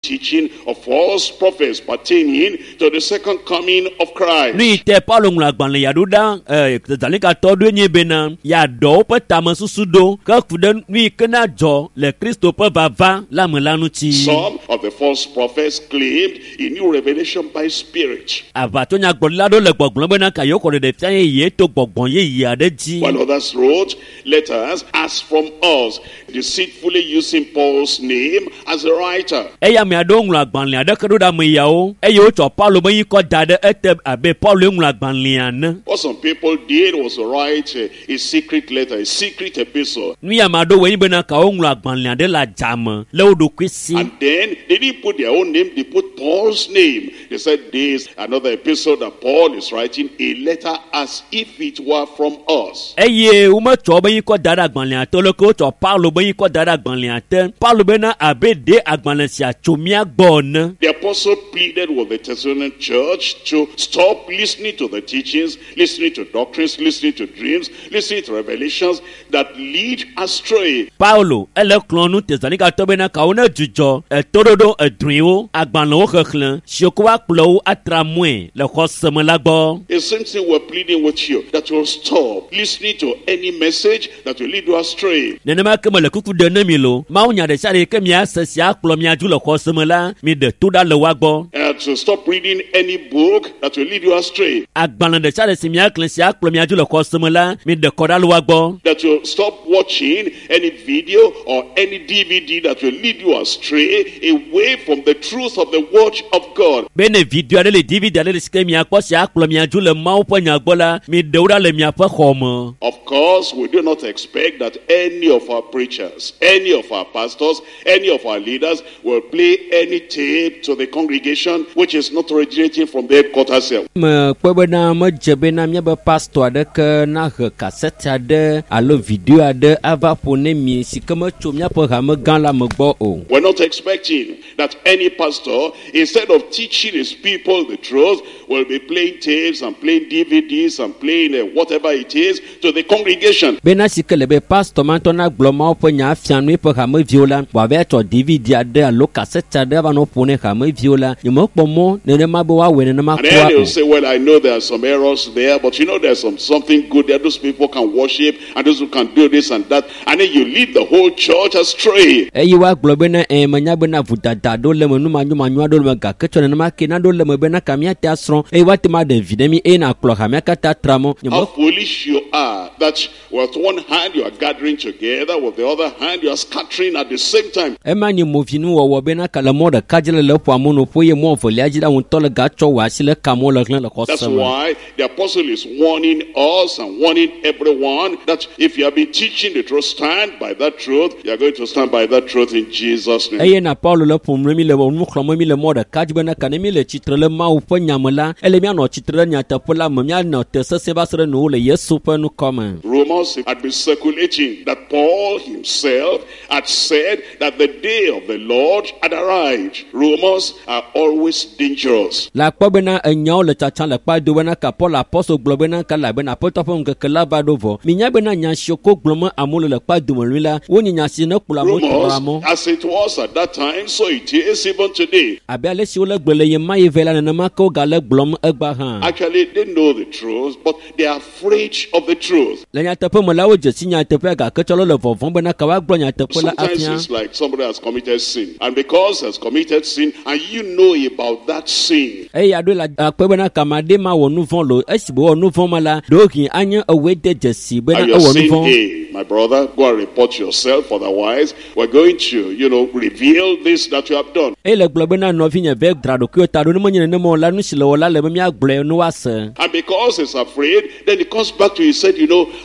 teaching of false prophets pertaining to the second coming of Christ. Nu yi te Paulo ŋlɔ agbalẽ ya ɖo ɖa Tesalonikato ɖoe nye bena yeaɖɔ woƒe tamesusu ɖo ke ku ɖe nu yi ke na dzɔ le Kristo ƒe vava la me la ŋuti. Some of the false prophets claimed a new revelation by spirit. Aʋatsonyagblɔɖila ɖewo le gbɔgblɔm bena ka yewo xɔ ɖeɖefia yeye to gbɔgbɔ yeye aɖe dzi. While others wrote letters as from us, deceitfully using Paul's name as a writer. Eye ame aɖewo ŋlɔ agbalẽ aɖeke ɖo ɖe ame yawo eye wotsɔ Paulo be ŋkɔ da ɖe ete abe Paulo ŋlɔ agbalẽa ene. What some people did was to write a secret letter, a secret epistle. Nu ya ame aɖewo wɔe nye bena ka woŋlɔ agbalẽ aɖe le adzame le wo ɖokui si. And then they didn't put their own name, they put Paul's name. They said this, another epistle that Paul is writing, a letter as if it were from us. Eye wometsɔ wobe ŋkɔ da ɖe agbalẽa te leke wotsɔ Paulo be ŋkɔ da ɖe agbalẽa te. Paulo bena abe ɖe agbalẽ sia tso mía gbɔ ene. The apostle pleaded with the Thessalonian church to stop listening to the teachings, listening to doctrines, listening to dreams, listening to revelations that lead astray. Paulo ele kplɔ nu Tesalonikatɔ bena kawo ne dzudzɔ etoɖoɖo edrɔ̃ewo, agbalẽwo xexlẽ siwo ke woakplɔ wo atra mɔe le xɔse me la gbɔ. The same thing we're pleading with you, that you'll stop listening to any message that will lead you astray. Nenema ke mele kuku ɖe ne mi lo, Mawu nya ɖe sia ɖe yi ke miase sia akplɔ mia dzo le xɔse me la, mi ɖe to ɖa le woa gbɔ. To stop reading any book that will lead you astray. Agbalẽ ɖe sia ɖe si miaxlẽ sia akplɔ mia dzo le xɔse me la, mi ɖe kɔ ɖa le woa gbɔ. That you'll stop watching any video or any DVD that will lead you astray away from the truth of the word of God. Be ne video aɖe le DVD aɖe le si ke miakpɔ sia akplɔ mia dzo le Mawu ƒe nya gbɔ la, mi ɖe wo ɖa le miaƒe xɔ me. Of course, we do not expect that any of our preachers, any of our pastors, any of our leaders will play any tape to the congregation which is not originating from the headquarters here. Mekpɔe bena medze bena míabe pastor aɖeke nahe kasɛti aɖe alo video aɖe ava ƒo ne mi si ke metso míaƒe hame gã la me gbɔ o. We're not expecting that any pastor, instead of teaching his people the truth, will be playing tapes and playing DVDs and playing whatever it is to the congregation. Bena si ke le be pastor ma ŋutɔ nagblɔ Mawu ƒe nya afia nu eƒe hameviwo la, wòava tsɔ DVD aɖe alo kasɛti aɖe ava nɔ ƒo ne hameviwo la, nyemekpɔ mɔ nenema be woawɔe nenema And then kura they'll o. say, well, I know there are some errors there, but you know there's something good there. Those people can worship and those who can do this and that. And then you lead the whole church astray. Eye woagblɔ bena menya bena vodada ɖewo le eme, numanyomanyo aɖewo le eme, gake tsɔ nenema ke naɖewo le eme bena ka míate asrɔ̃ eye woate ma ɖe vi ɖe mí eye nakplɔ hamea katã tra mɔ. How foolish you are that with one hand you are gathering together, with the other hand you are scattering at the same time. Ema nye movinuwɔwɔ bena ka le mɔ ɖeka dzi le le ƒoa mɔ noƒo eye mɔ evelia dzi la ŋutɔ le gatsɔ wò asi le kamɔ le hlẽ le That's xɔse me. why the apostle is warning us and warning everyone that if you have been teaching the truth, stand by that truth. You are going to stand by that truth in Jesus' name. Eye na Paulo le ƒom ɖe mi le nu xlɔ̃m mi le mɔ ɖeka dzi bena ka ne mi le tsitre le Mawu ƒe nya me la, ele mianɔ tsitre ɖe nyateƒe la me, mianɔ te sesẽ va se ɖe nuwo le Yesu ƒe ŋkɔ me. Rumors had been circulating that Paul himself had said that the day of the Lord had arrived. Rumors are always always dangerous. Le akpɔ bena enyawo le tsatsa le kpa do bena ka Paul apɔstol gblɔ bena ka elabena Aƒetɔ ƒe ŋkeke la va ɖo vɔ. Minya bena nya siwo ko gblɔm amewo le le kpa dome lui la, wonye nya si ne kplɔ amewo trɔa Rumors, mɔ. as it was at that time, so it is even today. Abe ale si wole gblɔ le ɣe ma ɣi vɛ la, nenema ke wogale gblɔm egbea hã. Actually, they know the truth, but they are afraid of the truth. Le nyateƒe me la, wodze si nyateƒea gake tsɔ le vɔvɔ̃m bena ka woagblɔ nyateƒe la Sometimes afia. it's like somebody has committed sin, and because has committed sin, and you know about that sin, Eye aɖoe le akpɔe bena kame aɖe ma wɔ nu vɔ̃ lo esi wòwɔ nu vɔ̃ ma la, ɖewohĩ anye ewɔe de dzesi bena and you're ewɔ nu saying, vɔ̃. hey, my brother, go and report yourself, otherwise, we're going to, reveal this that you have done. Eye le gblɔ bena nɔvinye vɛ dzra ɖokuiwò ta ɖo ne menye nenema o la, nu si le wɔ la le be míagblɔe ne woase. And because he's afraid, then he comes back to you. He said,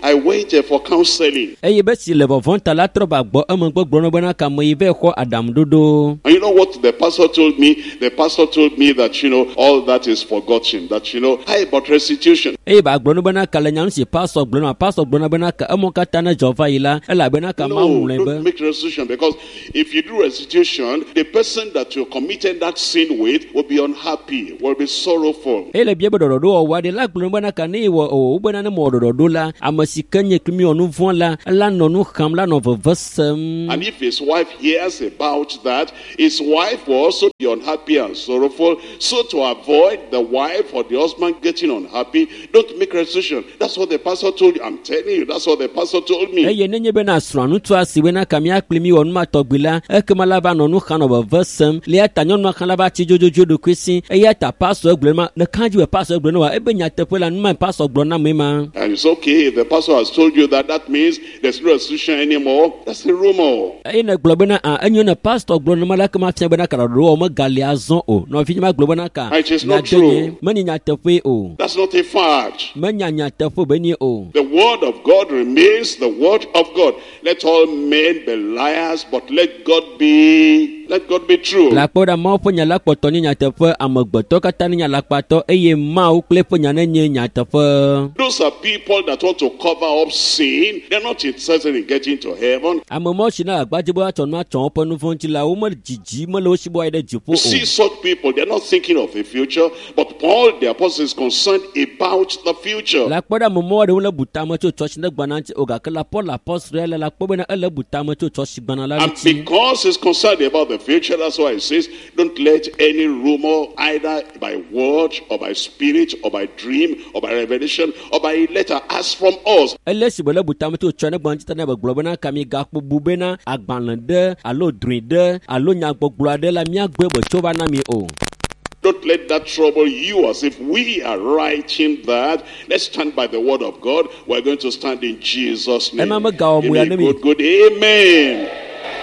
I went for counseling. Eye be si le vɔvɔ̃ ta la trɔ va gbɔ emegbe gblɔ na bena kame yi vɛ xɔ aɖaŋuɖoɖo. And you know what the pastor told me? The pastor told me that, all that is forgotten. That, how about restitution? Eye ba gblɔ na bena ka le nya nu si pastor gblɔ na pastor gblɔ na bena ka emɔ katã ne dzɔ va yi la, elabena ka No, Mawu ŋlɔe don't be. make restitution, because if you do restitution, the person that you committed that sin with will be unhappy, will be sorrowful. Eye le bia be ɖɔɖɔɖo wɔwɔ aɖe la gblɔ bena ka ne yewɔ o bena ne mewɔ ɖɔɖɔɖo la, ame si ke nye kple mi wɔ nu vɔ̃ la, ela nɔ nu xam la nɔ veve sem. And if his wife hears about that, his wife will also be unhappy and sorrowful. So to avoid the wife or the husband getting unhappy, don't make restitution. That's what the pastor told you. I'm telling you, that's what the pastor told me. Eye nenye bena srɔ̃a ŋutsua si bena ka mía kpli mi wɔ nu ma tɔgbi la, ekema la va nɔ nu xam nɔ veve sem. Le eya ta nyɔnua hã la va tsi dzodzodzoe ɖokui si. Eya ta pastor gblɔ ma, le kã dzi be pastor gblɔ ne wa, ebe nyateƒe la nu ma pastor gblɔ na ame ma. And it's okay if the pastor has told you that, that means there's no restitution anymore. That's a rumor. Eye ne gblɔ bena a enyo ne pastor gblɔ ne ma la kema fia bena ka ɖɔɖɔɖo wɔwɔ megali azɔ o. Nɔvi ma gblɔ bena ka It is not nya de nye, true. menye nyateƒe o. That's not a fact. Menya nyateƒe be nye o. The word of God remains the word of God. Let all men be liars, but let God be true. Le akpɔ ɖa Mawu ƒe nya la kpɔtɔ nye nyateƒe, amegbetɔ katã nye alakpatɔ eye Mawu kple eƒe nya nenye nyateƒe. Those are people that want to cover up sin. They're not interested in getting to heaven. Ame mawo si na agbadze be woatsɔ nu atsɔ woƒe nu vɔ̃ ŋuti la, wome dzidzi mele wo si be woayi ɖe dziƒo You see o. such people, they're not thinking of the future, but Paul the apostle is concerned about the future. Le akpɔ ɖe ame mawo ɖewo le bu tame tso tsɔtsi ne gbana ŋuti o gake la Paul apostol ya le la kpɔ bena ele bu tame tso tsɔtsi gbana la And ŋuti. because he's concerned about the future, that's why he says, don't let any rumor, either by word or by spirit or by dream or by revelation or by letter, as from us. Ele si be le bu tame tso tsɔ ne gbana ŋuti ta ne be gblɔ bena ka mi gakpo bu bena agbalẽ ɖe alo drɔ̃e ɖe alo nyagbɔgblɔ aɖe la míagbe be tso va na mi o. Don't let that trouble you as if we are writing that. Let's stand by the word of God. We're going to stand in Jesus' name. Ema megawɔ Give mo ya me ne a mi. good, good amen.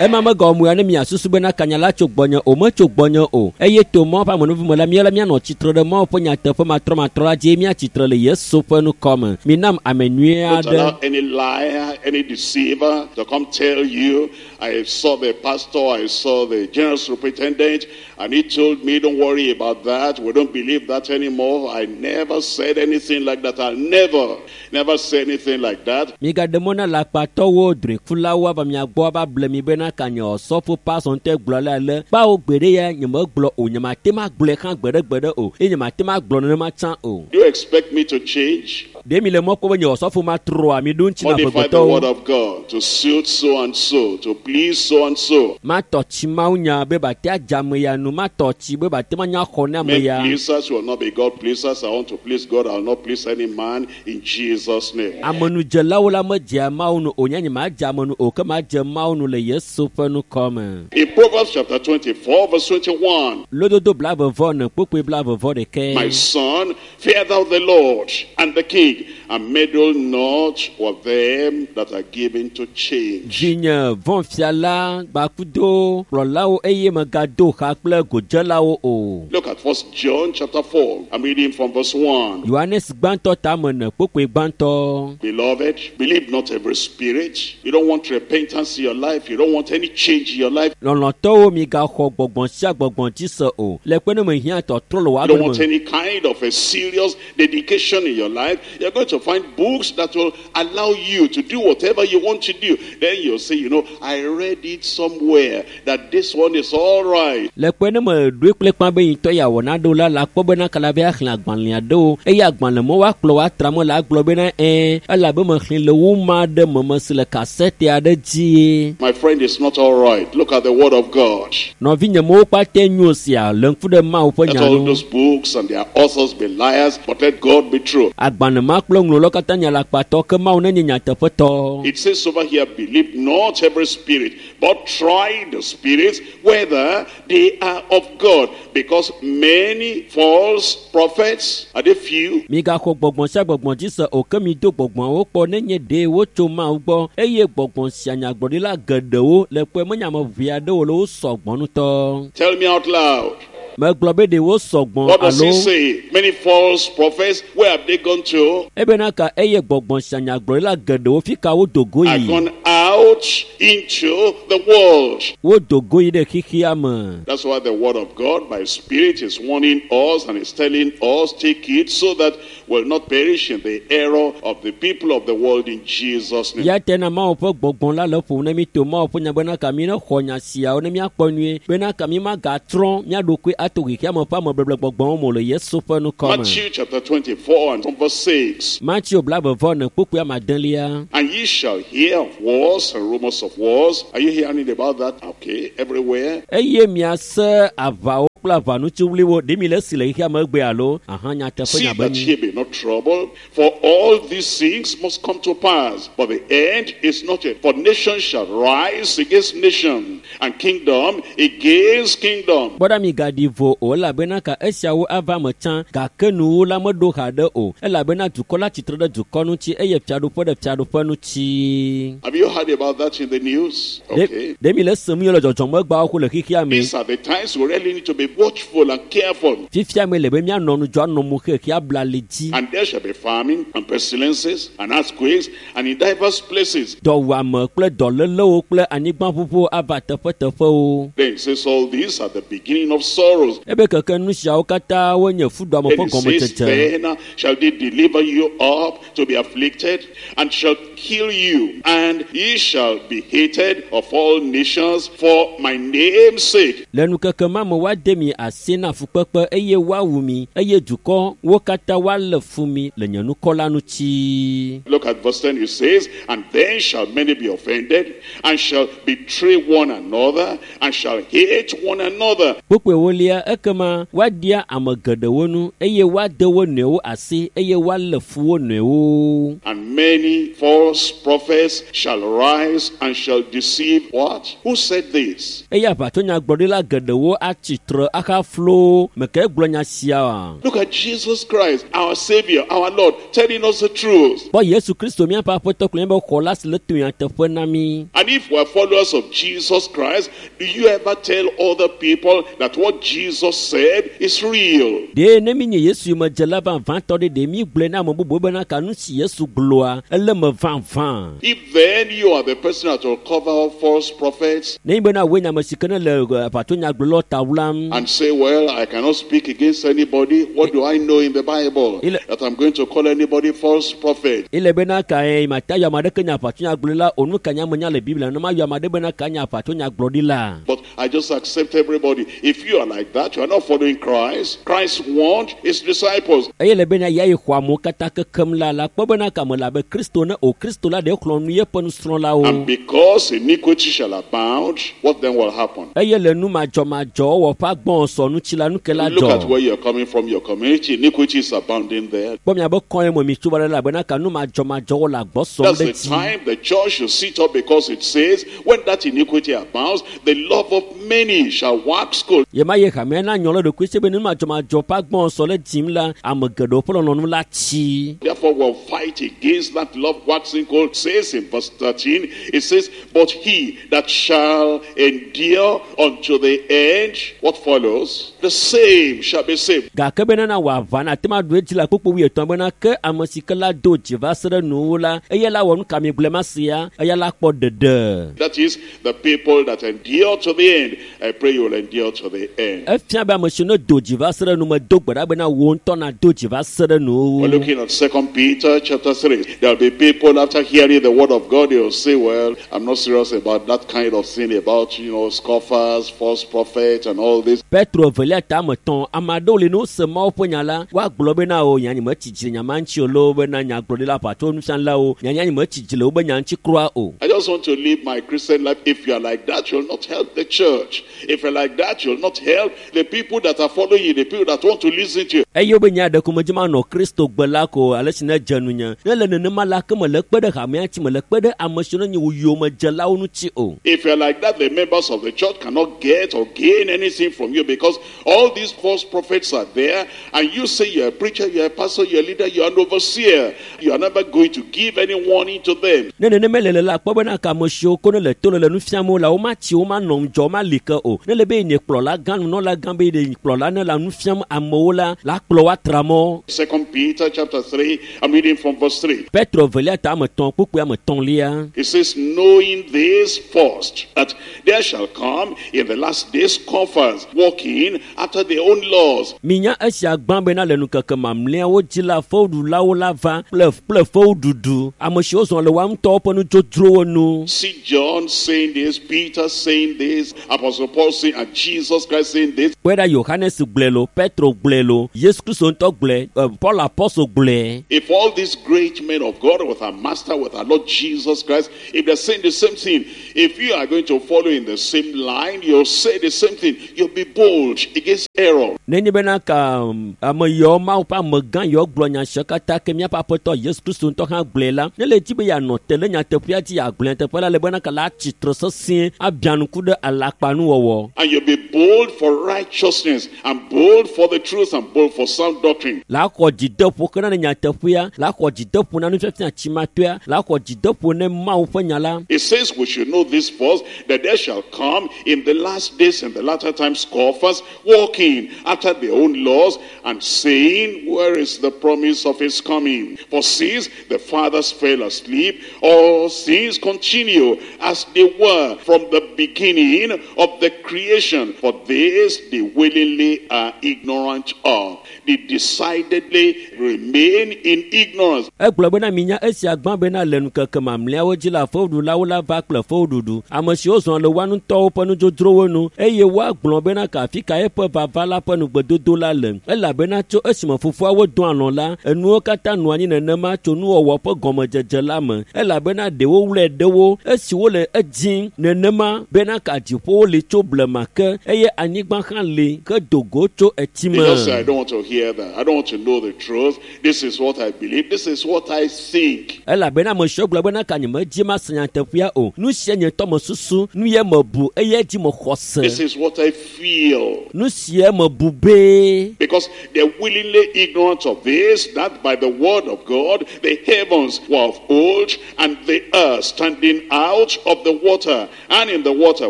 Ema megawɔ mo ya ne miasusu bena kanya la tso gbɔnye o, metso gbɔnye o. Eye to Mawu ƒe amenuvi me la, mía la míanɔ tsitre ɖe Mawu ƒe nyateƒe matrɔmatrɔ la dzi eye míatsitre le Yesu ƒe nukɔme. Minam ame nyui Don't aɖe. allow any liar, any deceiver to come tell you, I saw the pastor, I saw the general superintendent, and he told me, don't worry about that. We don't believe that anymore. I never said anything like that. I'll never, never say anything like that. Migaɖe mɔ na lakpatɔwo, drɔ̃ekulawo ava mia gbɔ ava ble mi bena ka nye osɔfo pastor ŋutɔe gblɔ ale ale. Kpawo gbeɖe ya nyemegblɔ o, nyemate ma gblɔe hã gbeɖegbeɖe o eye nyemate ma gblɔ nenema tsã o. Do you expect me to change? Ɖe mi le mɔ kpɔm be nye osɔfo matrɔa mi ɖo ŋuti na Modify the word amegbetɔwo. of God to suit so and so, to please so and so. Matɔ tsi Mawu nya be bate adze ame ya nu, matɔ tsi be bate manya xɔ ne ame Men ya. pleasers will not be God pleasers. I want to please God. I will not please any man in Jesus' name. Amenudzelawo la medzea Mawu nu o, nye nyemadze ame nu o, ke madze Mawu nu le Yesu ƒe nukɔme. In Proverbs chapter 24, verse 21, Lododo 24 kpukpui 21. My son, fear thou the Lord and the king, and meddle not with them that are given to change. Vinye vɔ̃ fia la gbakudo kplɔlawo eye megado xa kple godzelawo o. Look at 1 John chapter 4. I'm reading from verse 1. Yohanes gbãtɔ tame ene kpukpui gbãtɔ. Beloved, believe not every spirit. You don't want repentance in your life. You don't want any change in your life. Lɔlɔ̃tɔwo migaxɔ gbɔgbɔn sia gbɔgbɔn dzi se o. Le kpe ne mehiã tɔtrɔ le wò You don't agbe want me. any kind of a serious dedication in your life. You're going to to find books that will allow you to do whatever you want to do. Then you'll say, you know, I read it somewhere that this one is all right. Le kpe ne me ɖoe kple kpa be yintɔ ya wɔ naɖewo la la kpɔ bena kala be axlẽ agbalẽ aɖewo eye agbalẽ me woakplɔ woatra me la agblɔ bena ɛɛ elabe mexlẽ le woma ɖe meme si le kasete aɖe dzie. My friend, it's not all right. Look at the Word of God. Nɔvinye mewo kpata nyo sia le ŋku ɖe Mawu ƒe Let nya all nu. those books and their authors be liars, but let God be true. Agbalẽ ma kple ŋlɔlawo katã nye alakpatɔ ke Mawu nenye nyateƒetɔ. It says over here, believe not every spirit, but try the spirits whether they are of God. Because many false prophets, are they few? Migaxɔ gbɔgbɔ sia gbɔgbɔ dzi se o ke mido gbɔgbɔawo kpɔ nenye ɖe wotso Mawu gbɔ eye gbɔgbɔ sia nyagblɔɖila geɖewo le kpɔe menye ame ʋɛ aɖewo le wo sɔgbɔ ŋutɔ. Tell me out loud. Megblɔ be ɖe wo sɔgbɔ What does alo he say? Many false prophets, where have they gone to? ebena ka eye gbɔgbɔ sia nyagblɔɖila geɖewo fi ka wodo go Are yi. gone out into the world. Wodo go yi ɖe xexea me. That's why the word of God by Spirit is warning us and is telling us, take it so that we'll not perish in the error of the people of the world in Jesus' name. Ya tena Mawu ƒe gbɔgbɔ la le ƒom ne mi to Mawu ƒe nya bena ka mi ne xɔ nya siawo ne miakpɔ nyuie bena ka mi magatrɔ mía ɖokui ato xexea me ƒe amebeble gbɔgbɔwo me o le Yesu ƒe ŋkɔ me. Matthew chapter 24 and from verse 6. Mateo blaeve-vɔ-ene kpukpui ameadelia. And ye shall hear of wars and rumors of wars. Are you hearing about that? Okay, everywhere. Eye miase aʋawo kple aʋanutsiwliwo ɖe mi le esi le xexea me egbe alo aha nyateƒe See nya be that nyi. ye be not troubled, for all these things must come to pass. But the end is not yet. For nation shall rise against nation, and kingdom against kingdom. Kpɔ ɖa migaɖi vo o elabena ka esiawo ava me tsã gake nuwo la meɖo haɖe o elabena dukɔ la tsitre ɖe dukɔ ŋuti eye fiaɖuƒe ɖe fiaɖuƒe ŋuti. Have you heard about that in the news? Ɖe Okay. ɖe mi le esem ye le dzɔdzɔmegbawo ko le xexea me. These are the times we really need to be watchful and careful. Fifia me le be míanɔ ŋudzɔ anɔ mo xexea bla li dzi. And there shall be famine and pestilences and earthquakes and in diverse places. Dɔwuame kple dɔlélewo kple anyigbaʋuʋuwo ava teƒeteƒewo. Then it says all these are the beginning of sorrows. Ebe keke nu siawo katã wonye fuɖuame Then ƒe it says, gɔmedzedze. then shall they deliver you up to be afflicted, and shall kill you, and ye shall be hated of all nations for my name's sake. Le nukeke ma me woade mi asi na fukpekpe eye woawu mi eye dukɔwo katã woalé fu mi le nye ŋkɔ la ŋuti. Look at verse 10, it says, And then shall many be offended, and shall betray one another, and shall hate one another. Kpukpui ewolia ekema woaɖia ame geɖewo nu eye woade wo nɔewo asi eye woalé fu wo nɔewo. And many false prophets shall rise and shall deceive what? Who said this? Eye aʋatsonyagblɔɖila geɖewo atsi tre ahaflo meke gblɔ nya sia oa? Look at Jesus Christ, our Savior, our Lord, telling us the truth. Kpɔ Yesu Kristo míaƒe aƒetɔ kple míaƒe xɔla si le to nyateƒe na mí. And if we're followers of Jesus Christ, do you ever tell other people that what Jesus said is real? Ɖe ne mi nye Yesu yomedzela vavãtɔ ɖe ɖe mi gblɔe na ame bubuwo bena ka nu si Yesu gblɔa ele me vavã. If then you are the person that will cover up false prophets Ne nyi bena woe nye ame si ke ne le aʋatsonyagblɔlawo ta wlam and say, well, I cannot speak against anybody, what do I know in the Bible that I'm going to call anybody false prophet? ele bena ka ye mata yɔ ame aɖeke nye aʋatsonyagblɔla o nu ka nye ame nya le Biblia ne mayɔ ame aɖe bena ka nye aʋatsonyagblɔɖila. But I just accept everybody. If you are like that, you are not following Christ. Christ warned his disciples. Eye le bena ya yi xɔ amewo katã kekem la la kpɔ bena ka me le abe Kristo ne o Kristo la ɖe xlɔ̃ nu yeƒe nusrɔ̃lawo. And because iniquity shall abound, what then will happen? Eye le nu madzɔmadzɔwɔwɔ ƒe agbɔsɔ ŋuti la nu ke la Look at dzɔ. where you're coming from, your community. Iniquity is abounding there. Kpɔ miabe kɔe me mi tso va ɖe elabena ka nu madzɔmadzɔwɔ le agbɔ sɔm That's ɖe the dzi. time the church should sit up, because it says, when that iniquity abounds, the love of many shall wax cold. Ye ma ye hamea na nyɔ le ɖokui si be nu madzɔmadzɔ ƒe agbɔsɔ le dzim la ame geɖewo ƒe lɔlɔ̃nu la tsi. Therefore, we'll fight against that love waxing cold. Says in verse 13, it says, But he that shall endure unto the end, what follows? follows, the same shall be saved. Gake bena na wɔ aʋa na ate ma ɖu edzi le kpukpu wuietɔ̃ bena ke ame si ke la do dzi va se ɖe nuwuwu la, eya la wɔ nu ka mi gblɔe ma sia, eya la kpɔ ɖeɖe. That is, the people that endure to the end. I pray you will endure to the end. Efia be ame si ne do dzi va se ɖe nu me do gbe ɖa bena wò ŋutɔ nado dzi va se ɖe nuwuwu. We're looking at 2 Peter chapter 3. There'll be people after hearing the word of God, they'll say, well, I'm not serious about that kind of thing, about, scoffers, false prophets, and all this. Petro evelia ta ame etɔ̃, ame aɖewo li ne wose Mawu ƒe nya la, woagblɔ bena o nya nye metsi dzi le nya ma ŋuti o loo bena nyagblɔɖila ʋatso nufialawo, nya nya nye metsi dzi le wobe nya ŋuti kura o. I just want to live my Christian life. If you are like that, you'll not help the church. If you're like that, you'll not help the people that are following you, the people that want to listen to you. Eye wobe nya ɖe ko medzi manɔ Kristo gbe la ko ale si ne dze nunye. Ne le nenema la, ke mele kpe ɖe hamea ŋuti, mele kpe ɖe ame siwo ne nye wò yomedzelawo ŋuti o. If you're like that, the members of the church cannot get or gain anything from you because all these false prophets are there, and you say you're a preacher, you're a pastor, you're a leader, you're an overseer. You are never going to give any warning to them. Ne nenema le le la, kpɔ bena ka ame siwo ko ne le to le le nu fiam wo la, womatsi, womanɔ ŋudzɔ, womali ke o. Ne le be nye kplɔla gã, nunɔla gã be ye kplɔla ne le nu fiam amewo la, la kplɔ wo atra mɔ. 2 Peter chapter 3, I'm reading from verse 3. Petro evelia ta ame etɔ̃, kpukpui ame etɔ̃lia. It says, knowing this first, that there shall come in the last days scoffers, walking after their own laws. Minya esia gbã bena le ŋkeke mamlɛawo dzi la, fewuɖulawo la va kple kple fewuɖuɖu, ame siwo zɔ le woa ŋutɔwo ƒe nudzodzrowo nu. See John saying this, Peter saying this, Apostle Paul saying, and Jesus Christ saying this. Kpɔe ɖa Yohanes gblɔe lo, Petro gblɔe lo, Yesu Kristo ŋutɔ gblɔe, Paul Apostle gblɔe. If all these great men of God with our Master, with our Lord Jesus Christ, if they're saying the same thing, if you are going to follow in the same line, you'll say the same thing. You'll be bold against error. Nenye bena ka ame yawo Mawu ƒe amegã yawo gblɔ nya siawo katã ke míaƒe Aƒetɔ Yesu Kristo ŋutɔ hã gblɔe la, ne le dzi be yeanɔ te le nyateƒea dzi, yeagblɔ nyateƒe la, le bena ka la atsi tre sesĩe abia ŋku ɖe alakpanuwɔwɔ. And you'll be bold for righteousness, and bold for the truth, and bold for sound doctrine. La xɔ dzideƒo ke na ne nyateƒea, la xɔ dzideƒo na nufiafia tsimatɔea, la xɔ dzideƒo ne Mawu ƒe nya la. It says we should know this first, that there shall come in the last days, in the latter times, scoffers, walking after their own laws, and saying, where is the promise of his coming? For since the fathers fell asleep, all things continue as they were from the beginning of the creation. For this they willingly are ignorant of. They decidedly remain in ignorance. Egblɔ bena minya esia gbã bena le ŋkeke mamlɛawo dzi la, fewuɖulawo la va kple fewuɖuɖu, ame siwo zɔ le woa ŋutɔwo ƒe nudzodzrowo nu, eye woagblɔ bena ka afi ka eƒe vava la ƒe nugbedodo la le, elabena tso esime fofoawo do alɔ̃ la, enuwo katã nɔ anyi nenema tso nuwɔwɔ ƒe gɔmedzedze la me, elabena ɖewo wlɔe ɖewo esi wole edzim nenema bena ka dziƒowo li tso blema ke, eye anyigba hã li ke do go tso etsi They me. just say, I don't want to hear that. I don't want to know the truth. This is what I believe. This is what I think. Elabena ame siwo gblɔ bena ka nye medzi mase nyateƒea o, nu sia nye ŋutɔ mesusu, nu ye mebu eye dzi mexɔ se. This is what I feel. Nu sia mebu be. Because they're willingly ignorant of this, that by the word of God, the heavens were of old, and the earth standing out of the water, and in the water,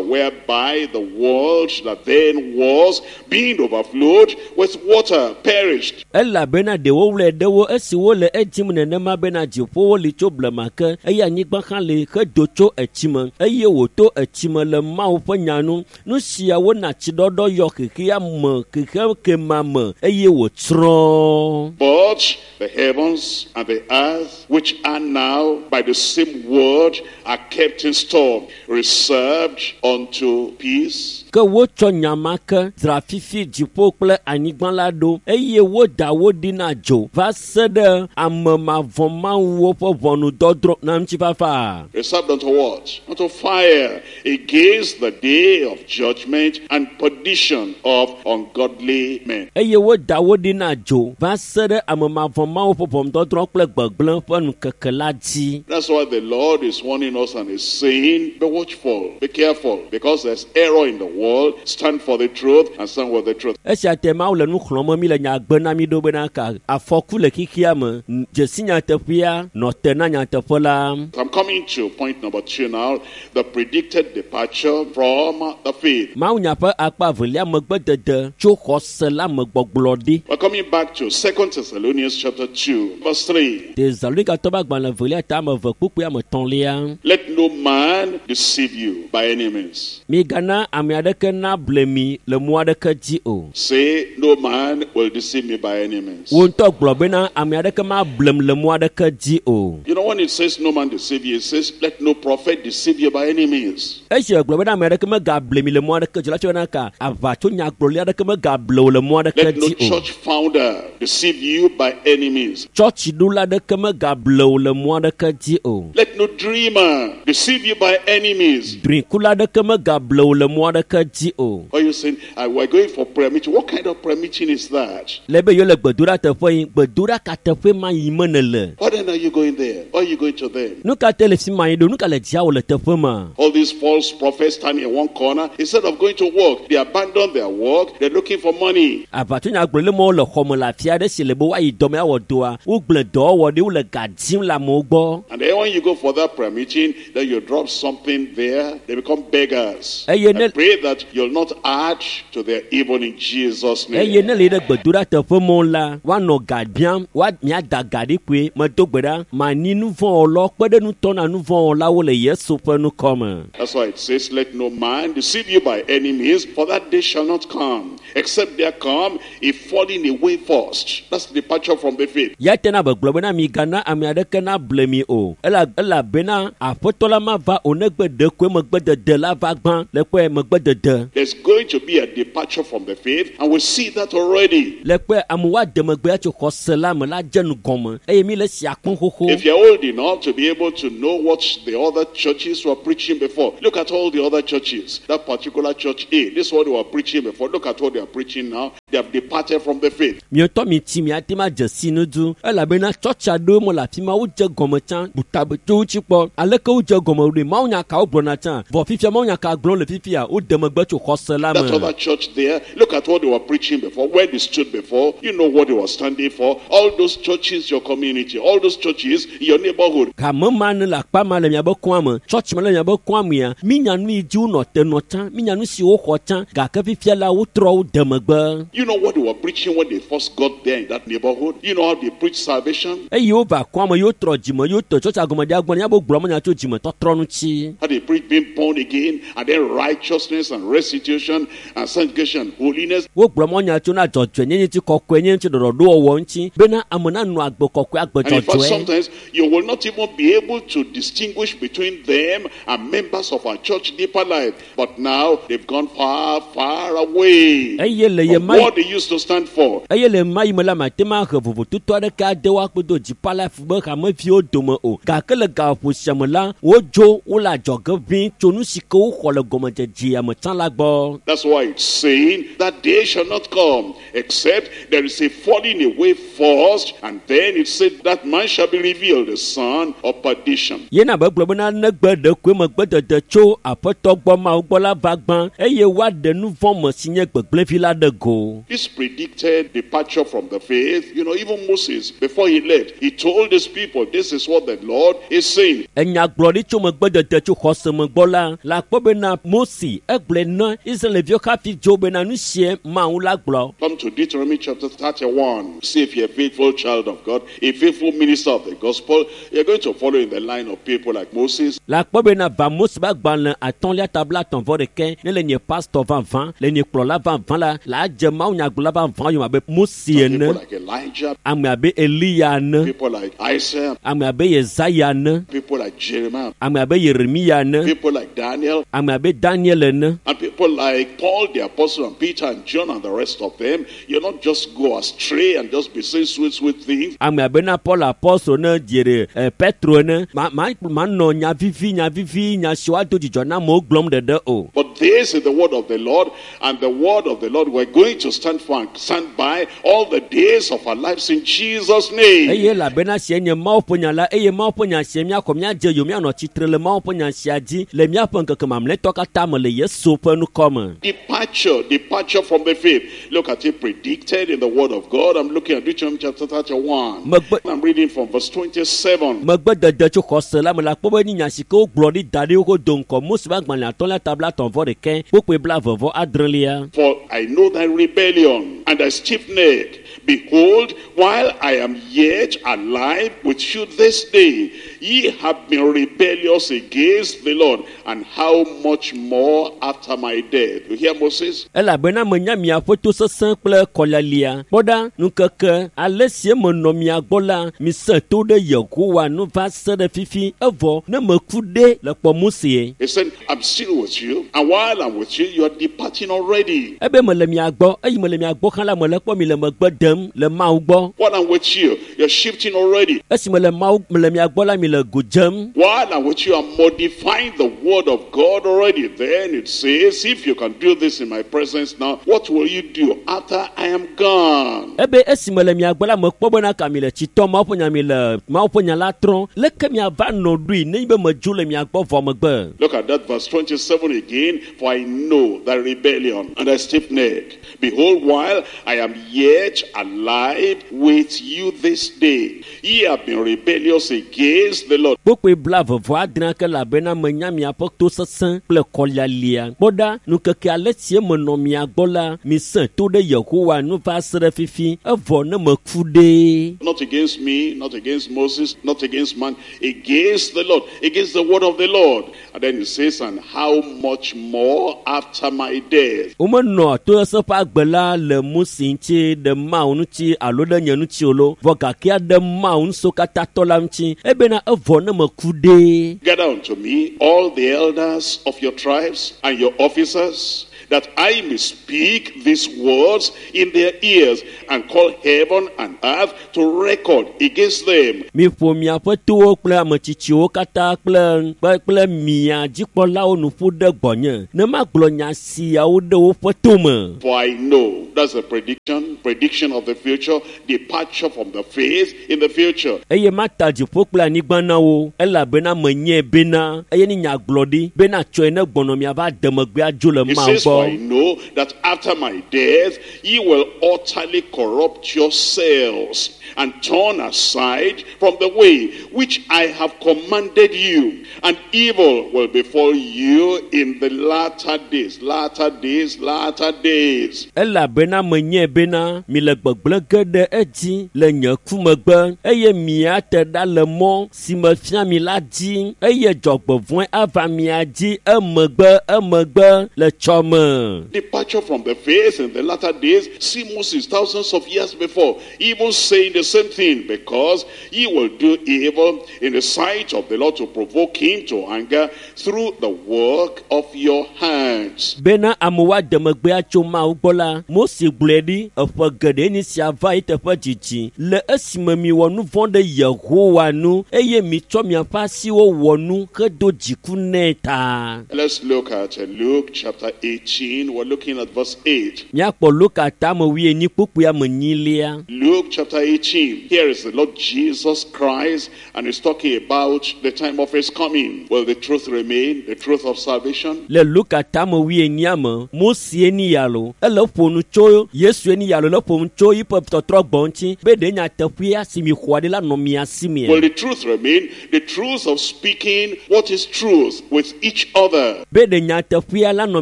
whereby the world that then was, being overflowed with water, perished. Elabena ɖewo wlɔe ɖewo esi wole edzim nenema bena dziƒowo li tso blema ke, eye anyigba hã li hedo tso etsi me, eye wòto etsi me le Mawu ƒe nya nu. Nu siawo na tsiɖɔɖɔ yɔ xexea me xexe kema me eye wòtsrɔ̃. But the heavens and the earth, which are now by the same word, are kept in store, reserved unto peace. Ke wotsɔ nya ma ke dzra fifi dziƒo kple anyigba la ɖo, eye woda wo ɖi na dzo va se ɖe ame mavɔ̃mawuwo ƒe ʋɔnudɔdrɔ̃ na ŋutifafa. Reserved unto what? Unto fire, against the day of judgment and perdition of ungodly men. Eye woda wo ɖi na dzo va se ɖe ame mavɔ̃mawu ƒe ʋɔnudɔdrɔ̃ kple gbegblẽ ƒe ŋkeke la dzi. That's why the Lord is warning us and is saying, be watchful, be careful, because there's error in the world. Stand for the truth and stand with the truth. Esia te Mawu le nu xlɔ̃m mi le nya gbe na mi ɖo bena ka afɔku le xixia me dzesi nyateƒea nɔ te na nyateƒe la. I'm coming to point number 2 now, the predicted departure from the faith. Mawunya ƒe akpa evelia megbedede tso xɔse la me gbɔgblɔ ɖi. We're coming back to 2 Thessalonians chapter 2, verse 3. Tesalonikatɔ ƒe agbalẽ evelia ta ame eve kpukpui ame etɔ̃lia. Let no man deceive you by any means. Migana ame aɖeke nable mi le mɔ aɖeke dzi o. Say, no man will deceive me by any means. Wo ŋutɔ gblɔ bena ame aɖeke mablem le mɔ aɖeke dzi o. You know, when it says no man deceive you, it says let no prophet deceive you by any means. Esi wògblɔ bena ame aɖeke megable mi le mɔ aɖeke dzi la, tsɔ bena ka aʋatso nyagblɔɖi aɖeke megable wò le mɔ aɖeke Let no dzi o. church founder deceive you by any means. Tsɔtsiɖola aɖeke megable wò le mɔ aɖeke dzi o. Let no dreamer deceive you by any means. Drikula aɖeke megable wò le mɔ aɖeke dzi o. Are you saying, we're going for prayer meeting? What kind of prayer meeting is that? Le be yewo le gbedoɖa teƒe yi, gbedoɖa ka teƒe ma yi me nèle? Why then are you going there? Why are you going to them? Nu ka te le fi ma yi ɖo? Nu ka le dziawò le teƒe ma? All these false prophets standing in one corner, instead of going to work, they abandon their work, they're looking for money. Aʋatsonyagblɔɖi mawo le xɔme le afi aɖe si le be woayi dɔme awɔ dɔa, wogblẽ dɔwɔwɔ ɖi, wole ga dim le amewo gbɔ. And then when you go for that prayer meeting, then you drop something there, they become beggars. Eye I ne pray that you'll not add to their evil in Jesus' eye name. ne le yi ɖe gbedoɖa teƒe mɔ la, woanɔ ga biam, woa miada ga ɖi koe. Medo gbe ɖa, mani nu vɔ̃ wɔlawo kpe ɖe nutɔ na nu vɔ̃ wɔlawo le Yesu ƒe ŋkɔme. That's why it says, let no man deceive you by any means, for that day shall not come, except there come a falling away first. That's departure from the faith. Ya tena be gblɔ bena migana ame aɖeke nable mi o. Elabena aƒetɔ la mava o negbe ɖekoe megbedede la va gbã le kpɔe megbedede. There's going to be a departure from the faith, and we see that already. Le kpɔe amewo ade megbe atso xɔse la me la dze nu gɔme eye mi le sia kpɔm xoxo. If you're old enough to be able to know what the other churches were preaching before, look at all the other churches. That particular church A, this is what they were preaching before. Look at what they are preaching now. They have departed from the faith. Mietɔ mi tsi miate ma dze si nu du elabena tsɔtsi aɖewo me le afi ma wodze gɔme tsã butabe tso wo tsi kpɔ aleke wodze gɔme ɖoe mawunya ka wogblɔna tsã vɔ fifia mawunya ka gblɔm le fifia wode megbe tso xɔse la That me. other church there, look at what they were preaching before, where they stood before. You know what they were standing for. All those churches, your community, all those churches in your neighborhood. Hame ma ne le akpa ma le miabe kɔa me, tsɔtsi ma le miabe kɔa mea, minya nu yi dzi wonɔ te nɔ tsã, minya nu si woxɔ tsã gake fifia la wotrɔ wo de megbe. You know what they were preaching when they first got there in that neighborhood. You know how they preached salvation. Eye wova kɔa me, yewo trɔ dzime, yewo tɔ tsɔtsia gɔme ɖia gbɔ, miabe gblɔ menya tso dzimetɔtrɔ ŋuti. How they preached being born again, and then righteousness and restitution and sanctification, holiness. Wogblɔ mɔnya tso na dzɔdzɔenyenye ŋuti, kɔkɔenyenye ŋuti, ɖɔɖɔɖowɔwɔ ŋuti bena ame nanɔ agbe kɔkɔe, agbe And in fact, dzɔdzɔe. sometimes you will not even be able to distinguish between them and members of our church deeper life. But now they've gone far, far away Eye le ye from ma what they used to stand for. eye le ma yi me la mate ma he vovototo aɖeke ade woakpe do dzipa life be hameviwo dome o gake le gaƒo sia me la wodzo wole adzɔge ʋĩ tso nu si ke woxɔ le gɔmedzedzea me tsã la gbɔ. That's why it's saying that day shall not come except there is a falling away first, and then it said that man shall be revealed, the son of perdition. Yena be gblɔ bena negbe ɖekoe megbedede tso aƒetɔ gbɔ Mawu gbɔ la va gbã eye woaɖe nu vɔ̃ me si nye gbegblẽvi la ɖe go. This predicted departure from the faith, you know, even Moses, before he left, he told his people, this is what the Lord is saying. Enyagblɔɖi tso megbedede tso xɔse me gbɔ la, la kpɔ bena Mose egblɔe na Israelviwo hafi dzo bena nu sie Mawu la gblɔ. Come to Deuteronomy chapter 31. See if you're a faithful child of God, a faithful minister of the gospel, you're going to follow in the line of people like Moses, La kpɔ bena va Mose ƒe agbalẽ atɔ̃lia tabla atɔ̃ vɔ ɖeke ne le nye pastor vavã, le nye kplɔla vavã la, la dze Mawu nyagblɔla vavã yome abe Mose people ene, like Elijah, ame abe Eliya ene, people like Isaiah, ame abe Yesaya ene, people like Jeremiah, ame abe Yeremiya ene, people like Daniel, ame abe Daniel ene, and people like Paul the apostle and Peter and John and the rest of them. You not just go astray and just be saying sweet, sweet things. ame abe na Paul apostol ne dzere Petro ene, ma ma manɔ nya vivi nya vivi nya siwo ado dzidzɔ na amewo gblɔm ɖeɖe o. But this is the word of the Lord, and the word of the Lord we're going to stand for and stand by all the days of our lives in Jesus' name. Eye elabena sie sie nye Mawu ƒe nya la eye Mawu ƒe nya sie míaxɔ míadze yo míanɔ tsitre le Mawu ƒe nya sia dzi le míaƒe ŋkeke mamlɛtɔ katã me le Yesu ƒe ŋkɔ me. Departure, departure from the faith. Look at it predicted in the Word of God. I'm looking at Deuteronomy chapter 31. I'm reading from verse 27. Megbedede tso xɔse la me la kpɔ be nye nya si ke wogblɔ ɖi da ɖi xoxo do ŋgɔ Mose ƒe agbalẽ atɔ̃lia ta 31 kpukpui 26. For I know thy rebellion and thy stiff neck. Behold, while I am yet alive with you this day, ye have been rebellious against the Lord, and how much more after my death? You hear Moses? Elabena menya miaƒe tosesẽ kple kɔlialia. Kpɔ ɖa, ŋkeke ale si menɔ mia gbɔ la, mise to ɖe Yehowa nu va se ɖe fifi, evɔ ne meku ɖe le kpɔ Mose. He said, I'm still with you, and while I'm with you, you are departing already. Ebe mele mia gbɔ, eyi mele mia gbɔ hã la, mele kpɔ mi le megbe dem le Mawu gbɔ. While I'm with you, you're shifting already. Esi mele Mawu mele mia gbɔ la, mi le go dzem. While I'm with you, I'm modifying the word of God already. Then it says, if you can do this in my presence now, what will you do after I am gone? Ebe esi mele mia gbɔ la, mekpɔ bena ka mi le tsitɔ Mawu ƒe nya mi le Mawu ƒe nya la trɔm. Leke miava nɔ ɖoe nenye be medzo le mia gbɔ vɔ megbe? Look at that verse 27 again. For I know thy rebellion and thy stiff neck. Behold, while I am yet alive with you this day, ye have been rebellious against the Lord. Kpukpui 26 ke elabena menya miaƒe tosesẽ kple kɔlialia. Kpɔ ɖa, ŋkeke ale si menɔ mia gbɔ la, mise to ɖe Yehowa nu va se ɖe fifi, evɔ ne meku ɖe. Not against me, not against Moses, not against man, against the Lord, against the word of the Lord. And then he says, and how much more after my death? Womenɔ tosesẽ ƒe agbe la le Mose ŋuti ɖe Mawu ŋuti alo ɖe nye ŋuti o lo, vɔ gake ɖe Mawu ŋusẽkatãtɔ la ŋuti, ebena evɔ ne meku ɖe. Gather unto me all the elders of your tribes and your officers, that I may speak these words in their ears and call heaven and earth to record against them. Miƒo miaƒe towo kple ametsitsiwo katã kple kple mia dzikpɔlawo nu ƒu ɖe gbɔnye, ne magblɔ nya siawo ɖe woƒe tome. For I know, that's a prediction of the future, departure from the faith in the future. Eye mata dziƒo kple anyigba na wo, elabena menyae bena eye ne nyagblɔ ɖi bena tsɔe ne gbɔnɔ miava de megbe adzo le He Mawu says, for I gbɔ. know that after my death, ye will utterly corrupt yourselves and turn aside from the way which I have commanded you, and evil will befall you in the latter days, latter days, latter days. Elabena menyae bena mi le gbegblẽ ge ɖe edzi le nye ku megbe, eye miate ɖa le mɔ si mefia mi la dzi, eye dzɔgbevɔ̃e ava mia dzi emegbe emegbe le tsɔme. Departure from the faith in the latter days. See Moses thousands of years before, even saying the same thing, because he will do evil in the sight of the Lord to provoke him to anger through the work of your hands. Bena amewo ade megbe atso Mawu gbɔ la, Mose gblɔe ɖi eƒe geɖe nye sia va yi teƒe dzidzi le esime miwɔ nu vɔ̃ ɖe Yehowa nu eye mitsɔ miaƒe asiwo wɔ nu hedo dziku nɛ ta. Let's look at Luke chapter 18. We're looking at verse 8. Míakpɔ Luka tame wuienyi kpukpui ame enyilia. Luke chapter 18. Here is the Lord Jesus Christ, and he's talking about the time of his coming. Will the truth remain? The truth of salvation? Le Luka tame wuienyia me, Mose ni ya lo, ele ƒo nu tso Yesu ni ya lo, le ƒo nu tso yiƒe tɔtrɔ gbɔ ŋuti be ɖe nyateƒea si mi xɔa ɖi la nɔ mia si mea. Will the truth remain? The truth of speaking what is truth with each other. Be ɖe nyateƒea la nɔ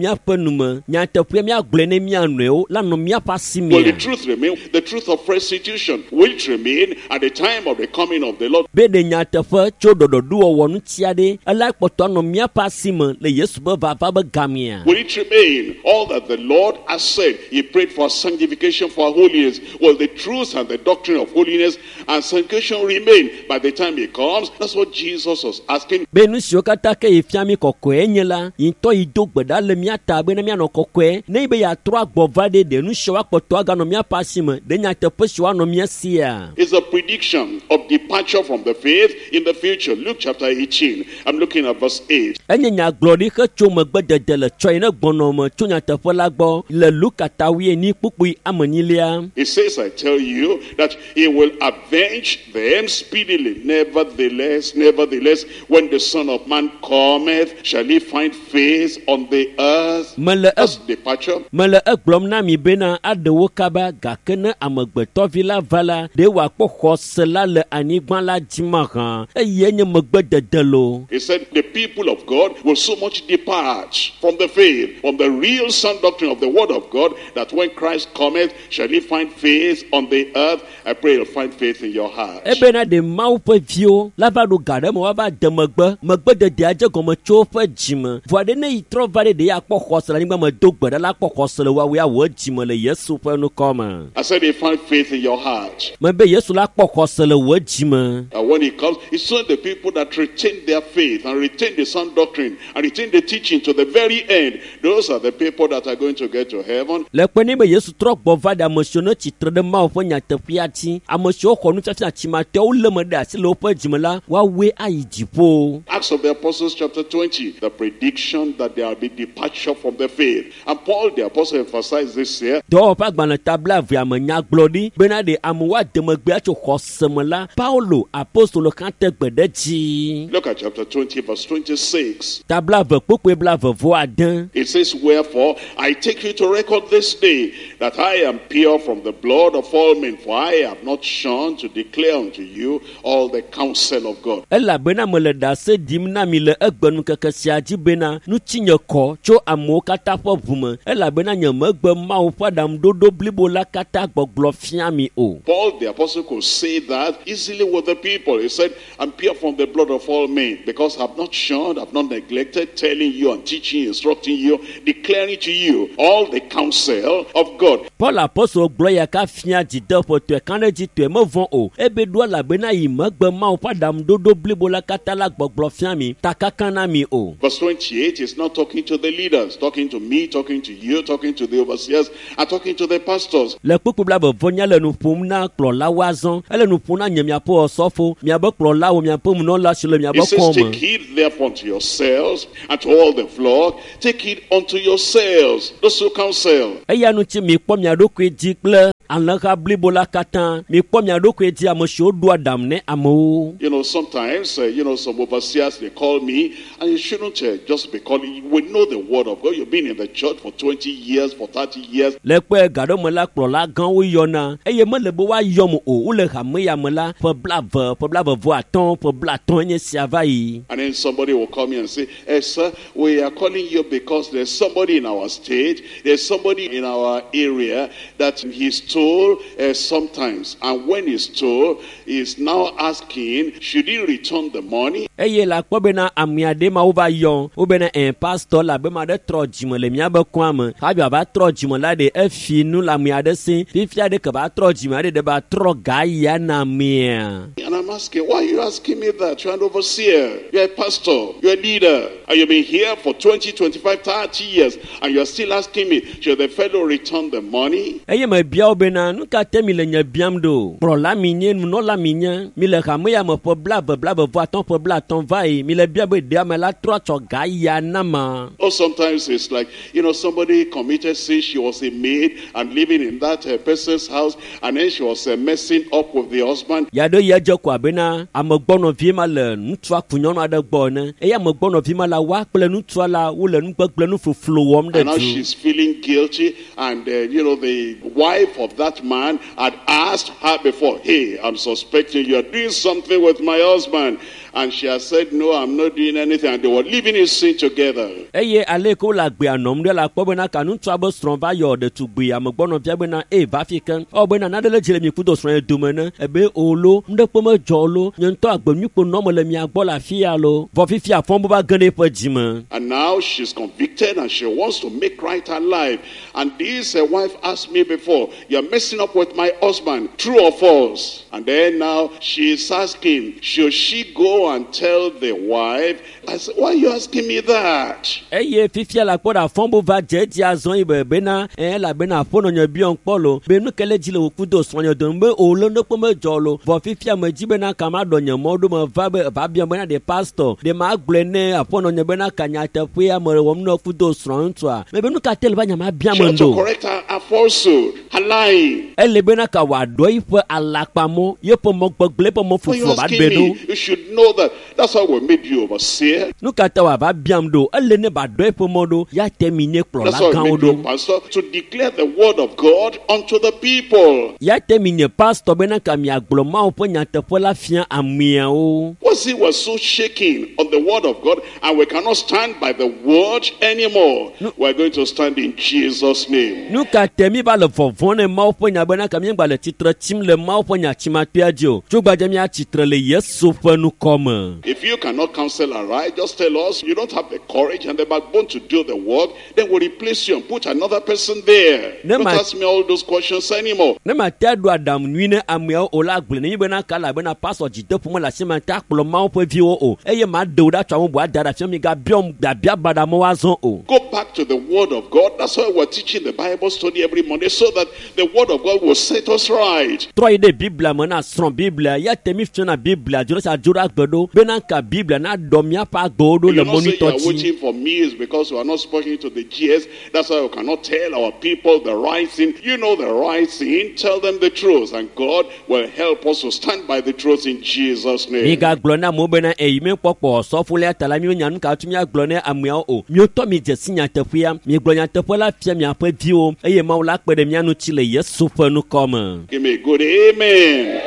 míaƒe nu me, nyateƒea míagblɔe ne mía nɔewo la nɔ míaƒe asi Will the mea. truth remain? The truth of restitution. Will it remain at the time of the coming of the Lord? Be ɖe nyateƒe tso ɖɔɖɔɖowɔwɔ ŋuti aɖe ela kpɔtɔ anɔ míaƒe asi me le Yesu ƒe vava be gamea. Will it remain all that the Lord has said? He prayed for sanctification, for holiness. Will the truth and the doctrine of holiness and sanctification remain by the time he comes? That's what Jesus was asking. Be nu siwo katã ke yi fia mi kɔkɔe nye la, yi ŋutɔ yi do gbe ɖa le mía ta bena bena míanɔ kɔkɔe ne be yeatrɔ agbɔ va ɖe ɖe nu siawo akpɔtɔ aganɔ míaƒe asi me ɖe nyateƒe siwo anɔ mía sia. It's a prediction of departure from the faith in the future. Luke chapter 18. I'm looking at verse 8. Enye nyagblɔɖi hetso megbedede le tsɔ yi ne gbɔnɔ me tso nyateƒe la gbɔ le Luka ta wuienyi kpukpui ame enyilia. It says, I tell you that he will avenge them speedily. Nevertheless, nevertheless, when the Son of Man cometh, shall he find faith on the earth? Mele e That's departure. mele egblɔm na mi bena aɖe wo kaba gake ne amegbetɔvi la va la ɖe wòakpɔ xɔse la le anyigba la dzi mahã eye nye megbedede lo. He said the people of God will so much depart from the faith, from the real sound doctrine of the word of God, that when Christ cometh, shall he find faith on the earth? I pray you'll find faith in your heart. Ebena ɖe Mawu ƒe viwo la va ɖo ga ɖe me woava de megbe megbededea dze gɔme tso woƒe dzime vɔa ɖe ne yi trɔ va ɖe ɖe akpɔ xɔse le anyigba me do gbe ɖa la akpɔ xɔse le woawoe awɔ dzime le Yesu ƒe ŋkɔ me. I said you find faith in your heart. Mebe Yesu la kpɔ xɔse le wò dzime. And when he comes, it's only the people that retain their faith and retain the sound doctrine and retain the teaching to the very end. Those are the people that are going to get to heaven. Le kpe ne be Yesu trɔ gbɔ va ɖe ame siwo ne tsitre ɖe Mawu ƒe nyateƒea dzi, ame siwo xɔ nufiafia tsimatɔwo lé me ɖe asi le woƒe dzime la, woawoe ayi dziƒo. Acts of the Apostles, chapter 20, the prediction that there will be departure from the faith. And Paul the Apostle emphasized this here. Dɔwɔƒe agbalẽ ta blaevea me nyagblɔɖi bena ɖe amewo ade megbe atso xɔse me la, Paulo apostolo hã te gbe ɖe dzi. Look at chapter 20, verse 26. Ta blaeve kpukpui blaeve vɔ ade. It says, Wherefore I take you to record this day that I am pure from the blood of all men, for I have not shunned to declare unto you all the counsel of God. Elabena mele ɖase ɖim na mi le egbenukeke sia dzi bena ŋutinye kɔ tso amewo katã ƒe ʋu me elabena nye megbe Mawu ƒe aɖaŋuɖoɖo blibo la katã gbɔgblɔ fia mi o. Paul the apostle could say that easily with the people. He said, I'm pure from the blood of all men, because I've not shunned, I've not neglected telling you and teaching, instructing you, declaring to you all the counsel of God. Paul apostolo gblɔ ya ka fia dzideƒotɔe ka ɖe dzi tɔe mevɔ̃ o ebe ɖo elabena yi megbe Mawu ƒe aɖaŋuɖoɖo blibo la katã la gbɔgblɔ fia mi takaka na mi o. Verse 28 is not talking to the leaders, talking to me, talking to you, talking to the overseers, and talking to the pastors. Le kpukpui blaeve vɔ nya le nu ƒom na kplɔlawo azɔ ele nu ƒom na nye miaƒe ɔsɔfo miabe kplɔlawo miaƒe munɔla si le miabe It says, kɔme. Take heed therefore unto yourselves and to all the flock. Take heed unto yourselves, those who counsel. Eya ŋuti mikpɔ mia ɖokui dzi kple alẽha blibo la katã mikpɔ mia ɖokui dzi ame siwo ɖoa aɖaŋu ne amewo. You know, sometimes, some overseers, they call me, and you shouldn't just be calling. We know the word of God. You've been in the church for 20 years, for 30 years. Le kpe gaɖome la kplɔla gãwo yɔna eye mele be woayɔm o wole hame ya me la ƒe blaeve ƒe blaeve vɔ atɔ̃ ƒe blaatɔ̃ enye sia va yi. And then somebody will call me and say, Hey, sir, we are calling you because there's somebody in our state, there's somebody in our area that he stole sometimes. And when he stole, he's now asking, should he return the money? Eye le akpɔ bena ame aɖe ma wova yɔ wobena ɛ pastor la be ma ɖe trɔ dzime le miabe kɔa me hafi wòava trɔ dzime la ɖe efi nu le ame aɖe si fifia ɖe ke va trɔ dzime aɖe ɖe va trɔ ga ya na amea. And I'm asking, why are you asking me that? You're an overseer, you're a pastor, you're a leader, and you've been here for 20, 25, 30 years, and you're still asking me, should the fellow return the money? Eye mebia wo bena nu ka te mi le nye biam ɖo kplɔla mi nye nunɔla mi nye mi le hame ya me ƒe blaeve blaeve vɔ atɔ̃ ƒe blaatɔ̃ va yi mi le bia be ɖe ame la trɔ tsɔ ga ya na ma. Or sometimes it's like, somebody committed sin, she was a maid and living in that person's house, and then she was messing up with the husband. Ya ɖe ya dze ko abena amegbɔnɔvi ma le ŋutsua ku nyɔnu aɖe gbɔ ene eye amegbɔnɔvi ma la woa kple ŋutsua la wole nugbegble nufloflo wɔm ɖe And now du. she's feeling guilty, and the wife of that man had asked her before, hey, I'm suspecting you're doing something with my husband. And she has said, no, I'm not doing anything. And they were living in sin together. Eye ale yi ke wole agbea nɔm ɖe la kpɔ bena ka ŋutsua be srɔ̃ va yɔ ɖetugbui amegbɔnɔvia bena eye va fi ke ewɔ bena naɖe le dzi le mi kudo srɔ̃ ye dome ne ebe o lo nuɖekpe medzɔ o lo nye ŋutɔ agbenyuikpo nɔm le mia gbɔ le afi ya lo vɔ fifia fɔm va ge ɖe eƒe dzime. And now she's convicted and she wants to make right her life. And this wife asked me before, you're messing up with my husband, true or false? And then now she's asking, should she go go and tell the wife. I said, why are you asking me that? Eye fifia la kpɔ ɖe afɔbu va dze edzi azɔ yi be bena elabena aƒenɔnye biɔm kpɔ lo be nu ke le dzi le wò kudo srɔ̃nye dome be o le ne kpɔ medzɔ lo vɔ fifia me dzi bena ka ma ɖɔ nye mɔ ɖo me va be va biɔm bena ɖe pastor ɖe ma gblɔe ne aƒenɔnye bena ka nyateƒea me wɔm ne kudo srɔ̃ ŋutsua me be nu ka te le va nya ma biam She ought to ɖo correct her falsehood, her lying. Ele bena ka wòaɖɔ yiƒe alakpamɔ yeƒe mɔ gbegblẽ eƒe mɔ Why you fufu va asking ɖe ɖo me? You should know that. That's how we made you overseer. Nu ka ta wòava biam ɖo ele ne ba ɖɔ eƒe mɔ ɖo ya te mi nye That's kplɔla how we gãwo made you ɖo pastor, to declare the word of God unto the people. Ya te mi nye pastor bena ka miagblɔ Mawu ƒe nyateƒe la fia ameawo. What's it was so shaking on the word of God, and we cannot stand by the word anymore. We're going to stand in Jesus' name. Nu ka te mi va le vɔvɔ̃ ne Mawu ƒe nya bena ka míegba le tsitre tsim le Mawu ƒe nya tsimakpea dzi o tso gbadze míatsitre le Yesu ƒe nukɔ me. If you cannot counsel aright, just tell us you don't have the courage and the backbone to do the work, then we'll replace you and put another person there. Ne Don't ma- ask me all those questions anymore. Ne mate aɖo aɖaŋu nyui ne ameawo o la gblɔe ne mi bena ka elabena pastor dzideƒo mele asi ma te akplɔ Mawu ƒe viwo o eye maɖe wo ɖa tso ame bubu ada ɖe afia mi gabiɔm biabia baɖa me woazɔ o. Go back to the word of God. That's why we're teaching the Bible study every Monday, so that the word of God will set us right. Trɔ yi ɖe Biblia me na srɔ̃ Biblia ya te mi fiana Biblia dzo ɖe sia dzo ɖe agbe ɖo bena ka Biblia na ɖɔ míaƒe agbewo ɖo You le not say you mɔ are nyuitɔ dzi. waiting for me is because you are not speaking to the GS. That's why you cannot tell our people the right thing. You know the right thing. Tell them the truth, and God will help us to stand by the truth in Jesus' name. Migagblɔ na amewo bena eyi míekpɔkpɔ sɔfolia ta la míenya nu ka tso míagblɔ ne ameawo o miotɔ mi dze si nyateƒea miegblɔ nyateƒe la fia miaƒe viwo eye Mawu la kpe ɖe mía ŋuti le Yesu ƒe nukɔ me. Give me a good amen.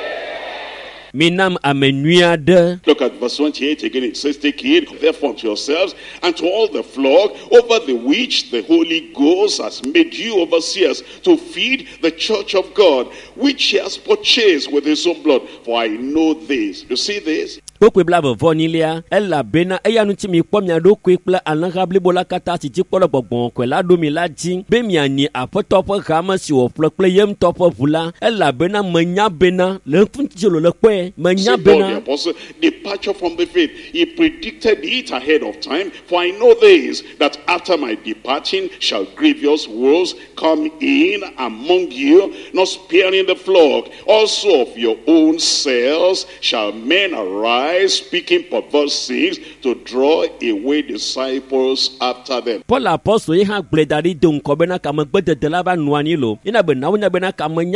Minam ame nyui aɖe. Look at verse 28 again. It says, Take heed therefore unto yourselves and to all the flock over the which the Holy Ghost has made you overseers, to feed the church of God, which he has purchased with his own blood. For I know this. You see this? Kpokpoe 26 elabena eya ŋuti mikpɔ mia ɖokui kple alẽha blibo la katã si dzikpɔ le gbɔgbɔ kɔkɔe la ɖo mi la dzi be mianyi aƒetɔ ƒe hame si wòƒle kple ye ŋutɔ ƒe ʋu la elabena menya bena le ŋuti lo le kpɔe menya See Paul the bena apostle, departure from the faith. He predicted it ahead of time. For I know this, that after my departing shall grievous wolves come in among you, not sparing the flock. Also of your own selves shall men arise, speaking perverse things, to draw away disciples after them. Paul apɔstol ye hã gblɔe da ɖi do ŋkɔ bena kamegbedede la va nɔ anyi lo yina be nawo nya bena kamenya